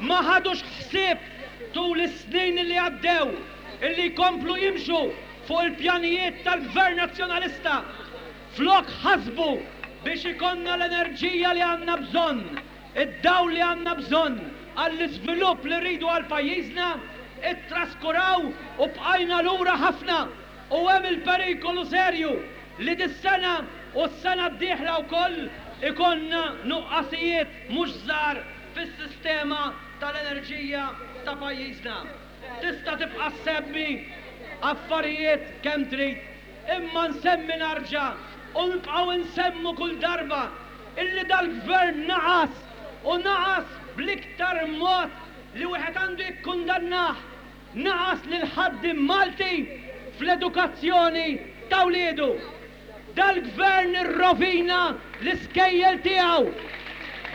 Ma ħadux ħsieb tul is-snin li għaddew illi jkomplu jimxu fuq il-pjanijiet tal-Gvern Nazzjonalista flok ħasbu biex ikollna l-enerġija li għandna bżonn, id-dawl li għandna bżonn għall-iżvilupp li rridu għal pajjiżna, ittraskuraw u bqajna lura ħafna u hemm il-perikolu serju li dis-sena. U s-sena d-dieħla wkoll ikollna nuqqasijiet mhux żgħar fis-sistema tal-enerġija ta' pajjiżna. Tista' tibqa' ssemmi affarijiet kemm trid, imma nsemmi narġa' u nibqgħu nsemmu kull darba illi dal-Gvern naqas u naqas bl-iktar mod li wieħed għandu jikkundannah, naqas lill-ħaddiem Malti fl-edukazzjoni ta' wliedu. Dal-Gvern irrovina l-iskejjel tiegħu.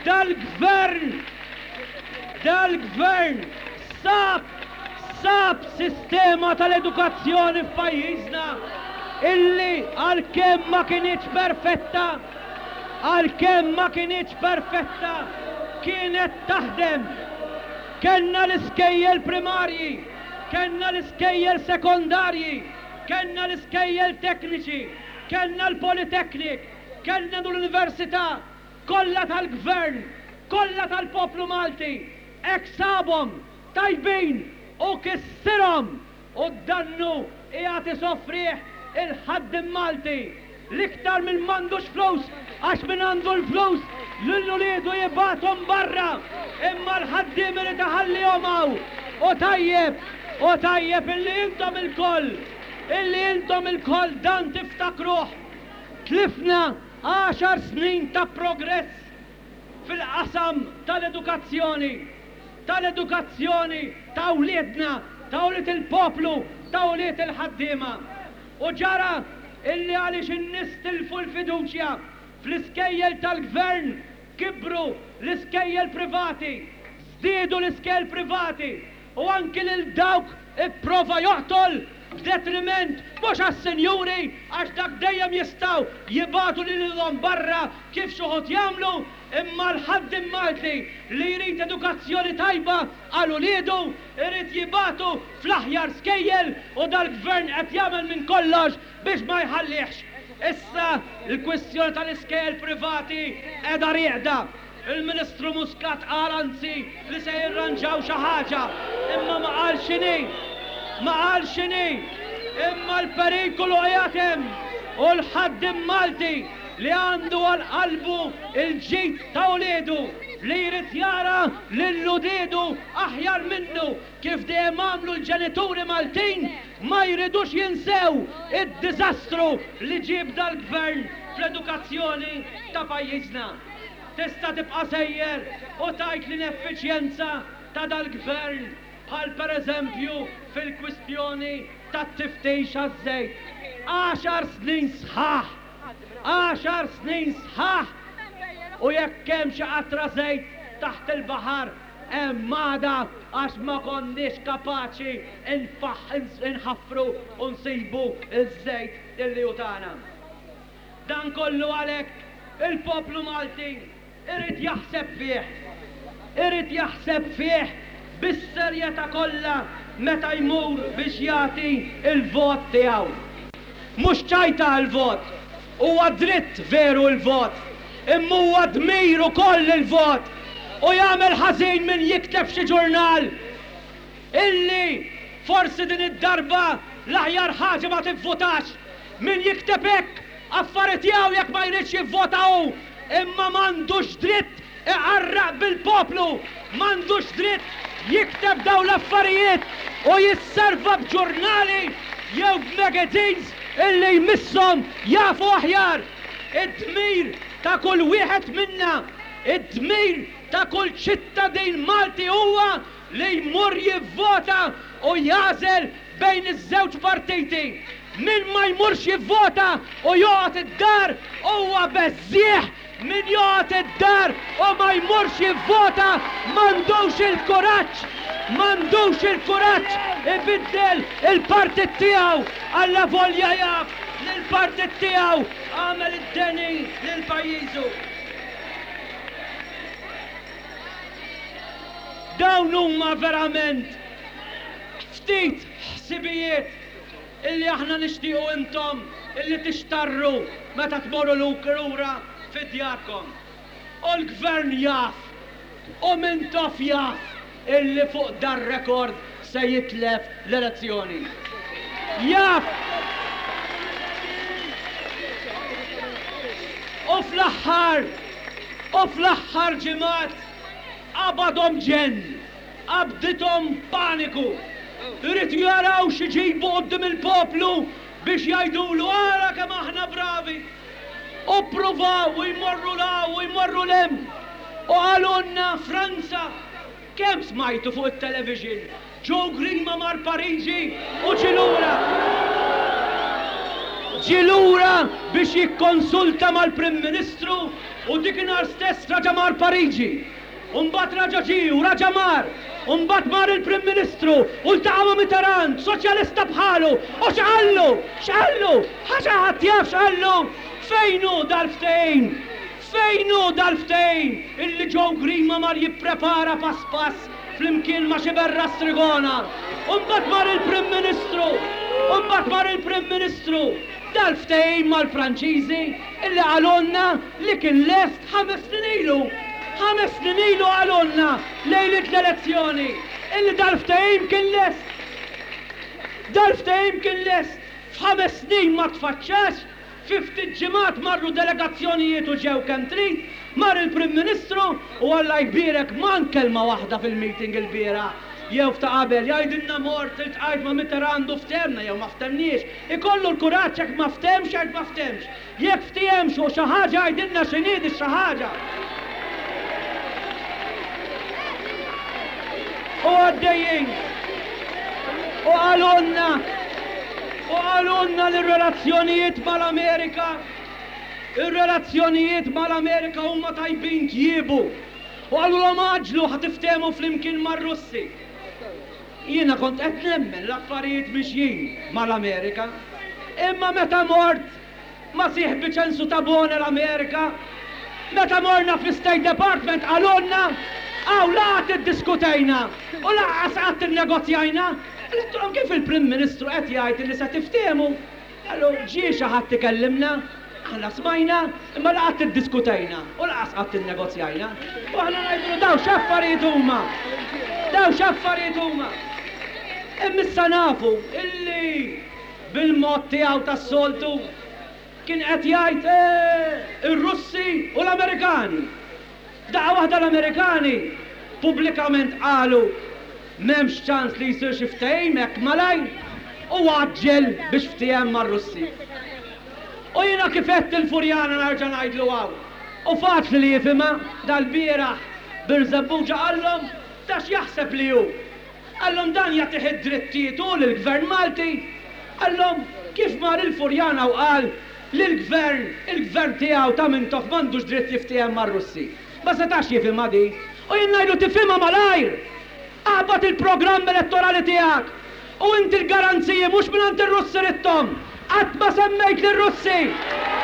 Dal-Gvern, dal-Gvern sab, sab sistema tal-edukazzjoni f'pajjiżna illi għalkemm ma kinitx perfetta, għalkemm ma kinitx perfetta, kienet taħdem. Kellna l-iskejjel primarji, kellna l-iskejjel sekondarji, Kellna l-iskejjel tekniċi, kellna l-Polytechnic, kellna l-Università, kollha tal-Gvern, kollha tal-poplu Malti. Hekk sabhom, tajbin, u kissirhom! U d-dannu qiegħed isofrih il-ħaddiem Malti, l-iktar min m'għandux flus, għax min għandu l-flus lil uliedu jibgħathom barra, imma l-ħaddiem irid iħallihom hawn. U tajjeb, u tajjeb illi intom ilkoll, illi intom ilkoll dan tiftakruh. Tlifna għaxar snin ta' progress fil-qasam tal-edukazzjoni, tal-edukazzjoni ta' wliedna, ta' ulied il-poplu, ta' ulied il-ħaddiema. U ġara illi għaliex in-nies tilfu l-fiduċja fl-iskejjel tal-gvern kibru l-iskejjel privati, żdiedu l-iskejjel privati u anki lil dawk ipprova joqtol b'detriment mhux għas-sinjuri għax dak dejjem jistgħu jibagħtu lilhom barra kif x'uħud jagħmlu imma l-ħaddiem Malti li jrid edukazzjoni tajba għal uliedu Irid jibagħtu fl-aħjar skejjel u dal-Gvern qed jagħmel minn kollox biex ma jħallihx. Issa l-kwistjoni tal-iskejjel privati qiegħda rieqda. Il-Ministru Muscat qal anzi li se jirranġaw xi ħaġa, imma ma qal x'inhi. Ma qal x'inhi. Imma l-perikolu qiegħed hemm u l-ħaddiem Malti li għandu għal qalbu l-ġid ta' uliedu, li jrid jara lil uliedu aħjar minnu, kif dejjem għamlu l-ġenituri Maltin, ma jridux jinsew id-diżastru li ġieb dal-Gvern fl-edukazzjoni ta' pajjiżna. Tista' tibqa' sejjer u tgħid l-ineffiċjenza ta' dal-Gvern, bħal pereżempju fil-kwistjoni tat-tiftix għaż-żejt. Għaxar snin sħaħ! Għaxar snin sħaħ! U jekk hemm xi qatra żejt taħt il-baħar, hemm għada għax ma konniex kapaċi nħaffru u nsibu ż-żejt illi hu tagħna. Dan kollu għalhekk il-poplu Malti Irid jaħseb fih. Irid jaħseb fih bis-serjetà kollha meta jmur biex jagħti l-vot tiegħu. Mhux ċajta l-vot. Huwa dritt veru l-vot. Imma huwa dmir ukoll il-vot. U jagħmel ħażin min jikteb f'xi ġurnal illi forsi din id-darba l-aħjar ħaġa ma tivvutax. Min jikteb hekk affari tiegħu jekk ma jridx jivvota hu. Imma m'għandux dritt iqarraq bil-poplu, m'għandux dritt jikteb dawn l-affarijiet u jisserva b'ġurnali jew b'magazines illi jmisshom jafu aħjar. Id-dmir ta' kull wieħed minna, id-dmir ta' kull ċittadin Malti huwa li jmur jivvota u jagħżel bejn iż-żewġ partiti. Min ma jmurx jivvota u joqgħod id-dar huwa beżżiegħ, min joqgħod id-dar u ma jmurx jivvota m'għandux il-kuraġġ, m'għandux il-kuraġġ ibiddel il-partit tiegħu allavolja jaf li l-partit tiegħu għamel id-deni lil pajjiżu. Dawn huma verament ftit ħsibijiet illi aħna nixtiequ intom illi tixtarru meta tmorru lura fi djarkom. U l-Gvern jaf, u Mintoff jaf illi fuq dar-rekord se jitlef l-elezzjoni. Jaf! U fl-aħħar, u fl-aħħar ġimgħat qabadhom ġenn, qabdithom paniku. Iridu jaraw x'iġibu quddiem il-poplu biex jgħidulu ara kemm aħna bravi. U ppruvaw u jmorru 'l hawn u jmorru 'l hemm. U qalulna Franza, kemm smajtu fuq it-television, Joe Grima mar Pariġi u ġie lura. Ġie lura biex jikkonsulta mal-Prim Ministru u dikinhar stess raġa' mar Pariġi. U mbagħad raġa' ġie u raġa' mar. U mbagħad mar il-Prim Ministru u ltaqa' ma' Mitterrand, soċjalista bħalu, u x'qallu? X'qallu? Ħaġa ħadd jaf x'qallu? Fejn hu dal-ftehim? Fejn hu dal-ftehim illi Joe Grima mar jipprepara pass pass flimkien ma' Sciberras Trigona? U mbagħad mar il-Prim Ministru! U mbagħad mar il-Prim Ministru! Dal-ftehim mal-Franċiżi illi qalulna li kien lest ħames snin ilu. Ħames snin ilu qalulna lejliet l-elezzjoni illi dal-ftehim kien lest. Dal-ftehim kien lest. F'ħames snin ma tfaċċax, fi ftit ġimgħat marru delegazzjonijiet u ġew kemm trid, mar il-Prim Ministru u Alla jbierek mank kelma waħda fil-meeting ilbieraħ jew f'ta' qabel jgħidilna mort iltqajt ma' Mitterrand u ftehemna jew ma ftehemniex. Ikollu l-kuraġġ jekk ma ftehemx jgħid ma ftehemx. Jekk ftehemx fuq xi ħaġa jgħidilna x'inhi di xi ħaġa. U għaddejjin. U qalulna u qalulna li r-relazzjonijiet mal-Amerika ir-relazzjonijiet mal-Amerika huma tajbin tjiebu. U qalulhom għaġġlu ħa tiftehmu flimkien mar-Russi. Jiena kont qed nemmen l-affarijiet mixjin mal-Amerika. Imma meta mort ma' sieħbi Ċensu Tabone l-Amerika, meta morna fl-State Department qalulna, hawn la qatt iddiskutejna u lanqas qatt innegozjajna. Għedtilhom kif il-Prim Ministru qed jgħid li se tiftehmu? Qalu, ġie xi ħadd ikellimna, aħna smajna, imma la qatt iddiskutejna u lanqas qatt innegozjajna. U aħna ngħidulu dawn x'affarijiet huma? Dawn x'affarijiet huma? Imma issa nafu illi bil-mod tiegħu tas-soltu kien qed jgħid, eh, ir-Russi u l-Amerikani. F'daqqa waħda l-Amerikani pubblikament qalu m'hemmx ċans li jsir xi ftehim hekk malajr u għaġġel biex ftiehem mar-Russi. U jiena kif għedt il-Furjana nerġa' ngħidlu hawn, u faċli li jifhimha, dal-bieraħ Birżebbuġa qallhom ta' x'jaħseb li hu. Qallhom dan jagħtih id-drittijiet hu lill-Gvern Malti. Qallhom kif mar il-Furjana u qal li l-Gvern, il-Gvern tiegħu ta' Mintoff m'għandux dritt jiftiehem mar-Russi. Ma setax jifhimha di. U jien ngħidlu tifhimha malajr! Aqbad il-programm elettorali tiegħek u inti l-garanziji mhux mingħand ir-Russi ridthom! Qatt ma semmejt lir-Russi!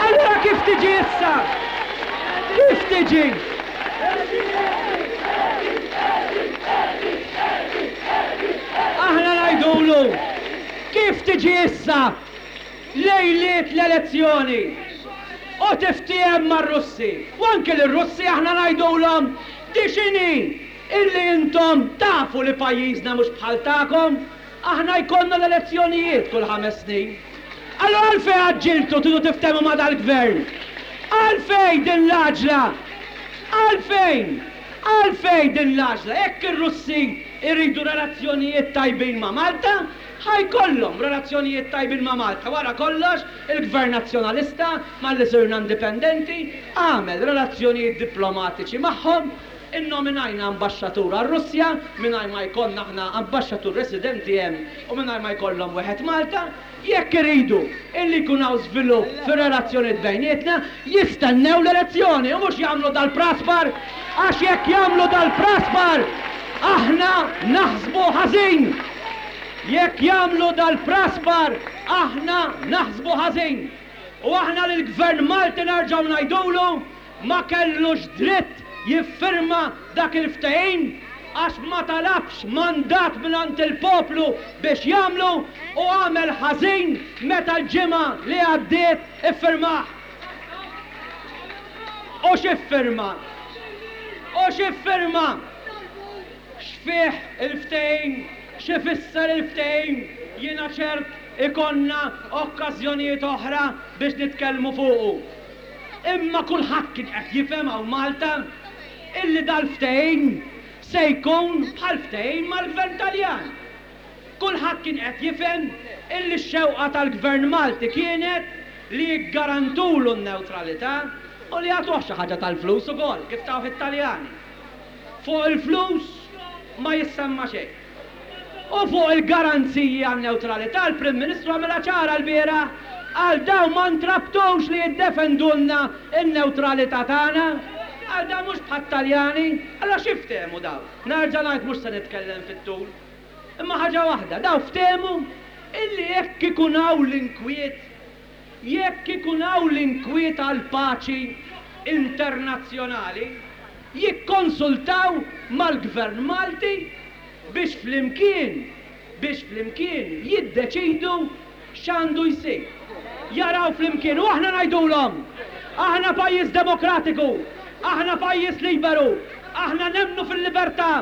Allura kif tiġi issa? Kif tiġi? Aħna ngħidulu, kif tiġi issa lejliet l-elezzjoni u tiftiehem mar-Russi? U anki lir-Russi aħna ngħidulhom, di x'inhi illi intom tafu li pajjiżna mhux bħal tagħkom, aħna jkollna l-elezzjonijiet kull ħames snin. Allura għalfejn għaġġiltu tridu tiftehmu ma' dal-Gvern? Għalfejn din l-għaġla? Għalfejn? Għalfejn din l-għaġla? Jekk ir-Russi jridu relazzjonijiet tajbin ma' Malta, ħa jkollhom relazzjonijiet tajbin ma' Malta. Wara kollox, il-Gvern Nazzjonalista, malli sirna indipendenti, għamel relazzjonijiet diplomatiċi magħhom, Innominajna ambaxxatur għar-Russja mingħajr ma jkollna aħna ambaxxatur residenti hemm u mingħajr ma jkollhom wieħed Malta. Jekk iridu illi jkun hawn żvilupp fir-relazzjonijiet bejnietna, jistennew l-elezzjoni u mhux jagħmlu dal-praspar għax jekk jagħmlu dal-praspar aħna naħsbu ħażin. Jekk jagħmlu dal-praspar aħna naħsbu ħażin. U aħna lill-Gvern Malti nerġgħu ngħidulu ma kellux dritt jiffirma dak il-ftehim għax ma talabx mandat mingħand il-poplu biex jagħmlu u għamel ħażin meta l-ġimgħa li għaddiet iffirmah. U x'iffirma? U x'iffirma? X'fih il-ftehim? X'ifisser il-ftehim? Jiena ċert ikollna okkażjonijiet oħra biex nitkellmu fuqu. Imma kulħadd kien qed jifhem hawn Malta illi dal-ftehim se jkun bħal ftehim mal-Gvern Taljan. Kulħadd kien qed jifhem illi x-xewqa tal-Gvern Malti kienet li jiggarantulu n-newtralità u li jagħtuh xi ħaġa tal-flus ukoll, kif tawh it-Taljani. Fuq il-flus ma jissemma xejn. U fuq il-garanziji għan-newtralità l-Prim Ministru għamilha ċara lbieraħ, qal dawn ma ntrabtux li jiddefendulna n-newtralità tagħna. Qal dawn mhux bħat-Taljani. Allura x'iftehmu dawn? Nerġa' ngħid mhux se nitkellem fit-tul. Imma ħaġa waħda, dawn ftehmu illi jekk ikun hawn l-inkwiet, jekk ikun hawn l-inkwiet għall-paċi internazzjonali, jikkonsultaw mal-Gvern Malti biex flimkien, biex flimkien jiddeċidu x'għandu jsir. Jaraw flimkien u aħna ngħidulhom, aħna pajjiż demokratiku, aħna pajjiż liberu, aħna nemmnu fil-libertà,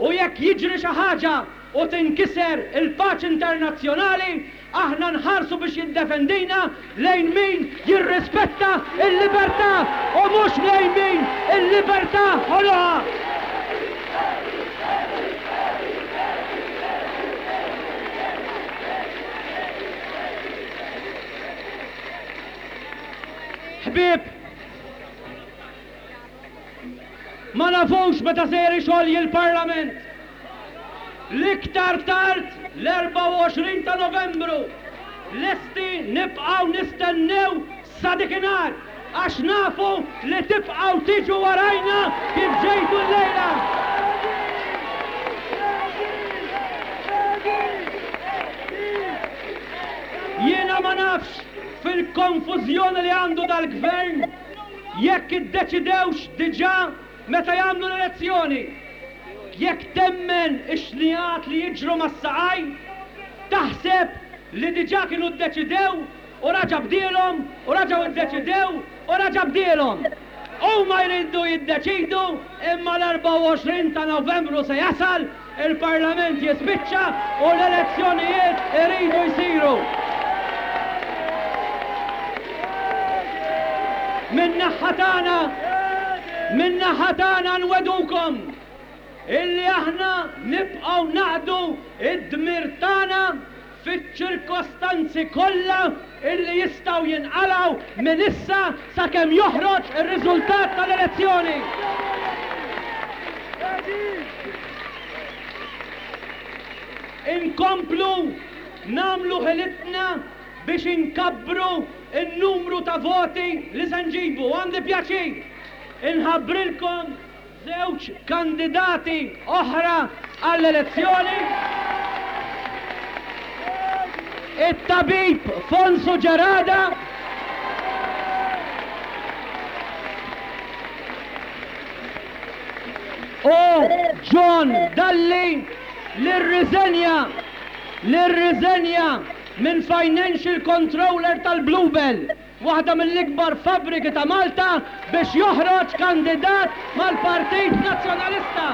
U jekk jiġri xi ħaġa u tinkiser il-paċi internazzjonali, aħna nħarsu biex jiddefendina lejn min jirrispetta l-libertà u mhux lejn min il-libertà ħoloqha. Ħbieb, Ma nafux meta ser ixolji l-Parlament. L-iktar tard l-24 ta' Novembru. Lesti nibqgħu nistennew sa dikinhar għax nafu li tibqgħu tiġu warajna kif ġejtu llejla. Jiena ma nafx fil-konfużjoni li għandu dal-Gvern Jekk iddeċidewx diġà meta jagħmlu l-elezzjoni. Jekk temmen ix-xnigħat li jiġru mas-saqajn, taħseb li diġà kienu ddeċidew u raġa' bdielhom u raġgħu ddeċidew u raġa' bdielhom. Huma jridu jiddeċidu imma l-24 ta' Novembru se jasal Il-Parlament jispiċċa u l-elezzjonijiet iridu jsiru. Min-naħa tagħna, min-naħa tagħna nwegħdukom illi aħna nibqgħu naqdu d-dmir tagħna fiċ-ċirkostanzi kollha illi jistgħu jinqalgħu minn issa sakemm joħroġ ir-riżultat tal-elezzjoni. Inkomplu nagħmlu ħilitna biex inkabbru n-numru ta' voti li se nġibu. Għandi pjaċir inħabbrilkom Żewġ kandidati oħra għall-elezzjoni, it-tabib Fonsu Gerada u John Dalli li rriżenja li rriżenja minn Financial Controller tal-Bluebell. waħda mill-ikbar fabbriki ta' Malta biex joħroġ kandidat mal-Partit Nazzjonalista.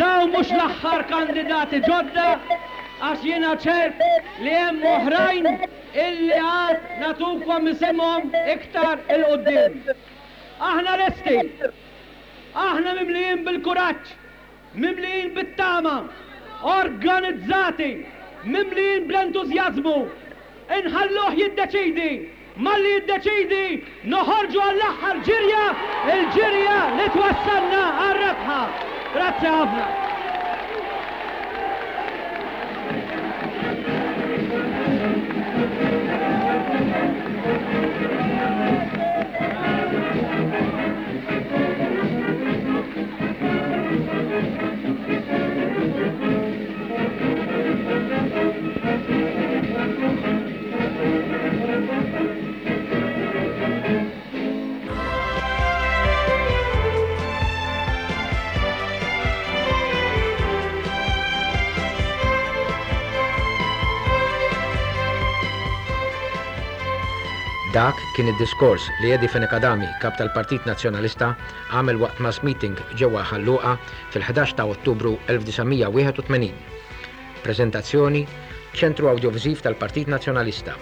Dawn mhux l-aħħar kandidati ġodda għax jiena ċert li hemm oħrajn illi għad nagħtukom isimhom iktar 'il quddiem. Aħna lesti. Aħna mimlijin bil-kuraġġ, mimlijin bit-tama, organizzati, mimlijin bl-entużjażmu. Inħalluh jiddeċiedi. Malli jiddeċiedi, noħorġu għall-aħħar ġirja, il-ġirja li twassalna għar-rebħa. Grazzi ħafna. Dak kien id-diskors li Eddie Fenech Adami, Kap tal-Partit Nazzjonalista, għamel waqt mass meeting ġewwa Ħal Luqa fil-11 ta' Ottubru 1981. Preżentazzjoni, Ċentru Awdjoviżiv tal-Partit Nazzjonalista.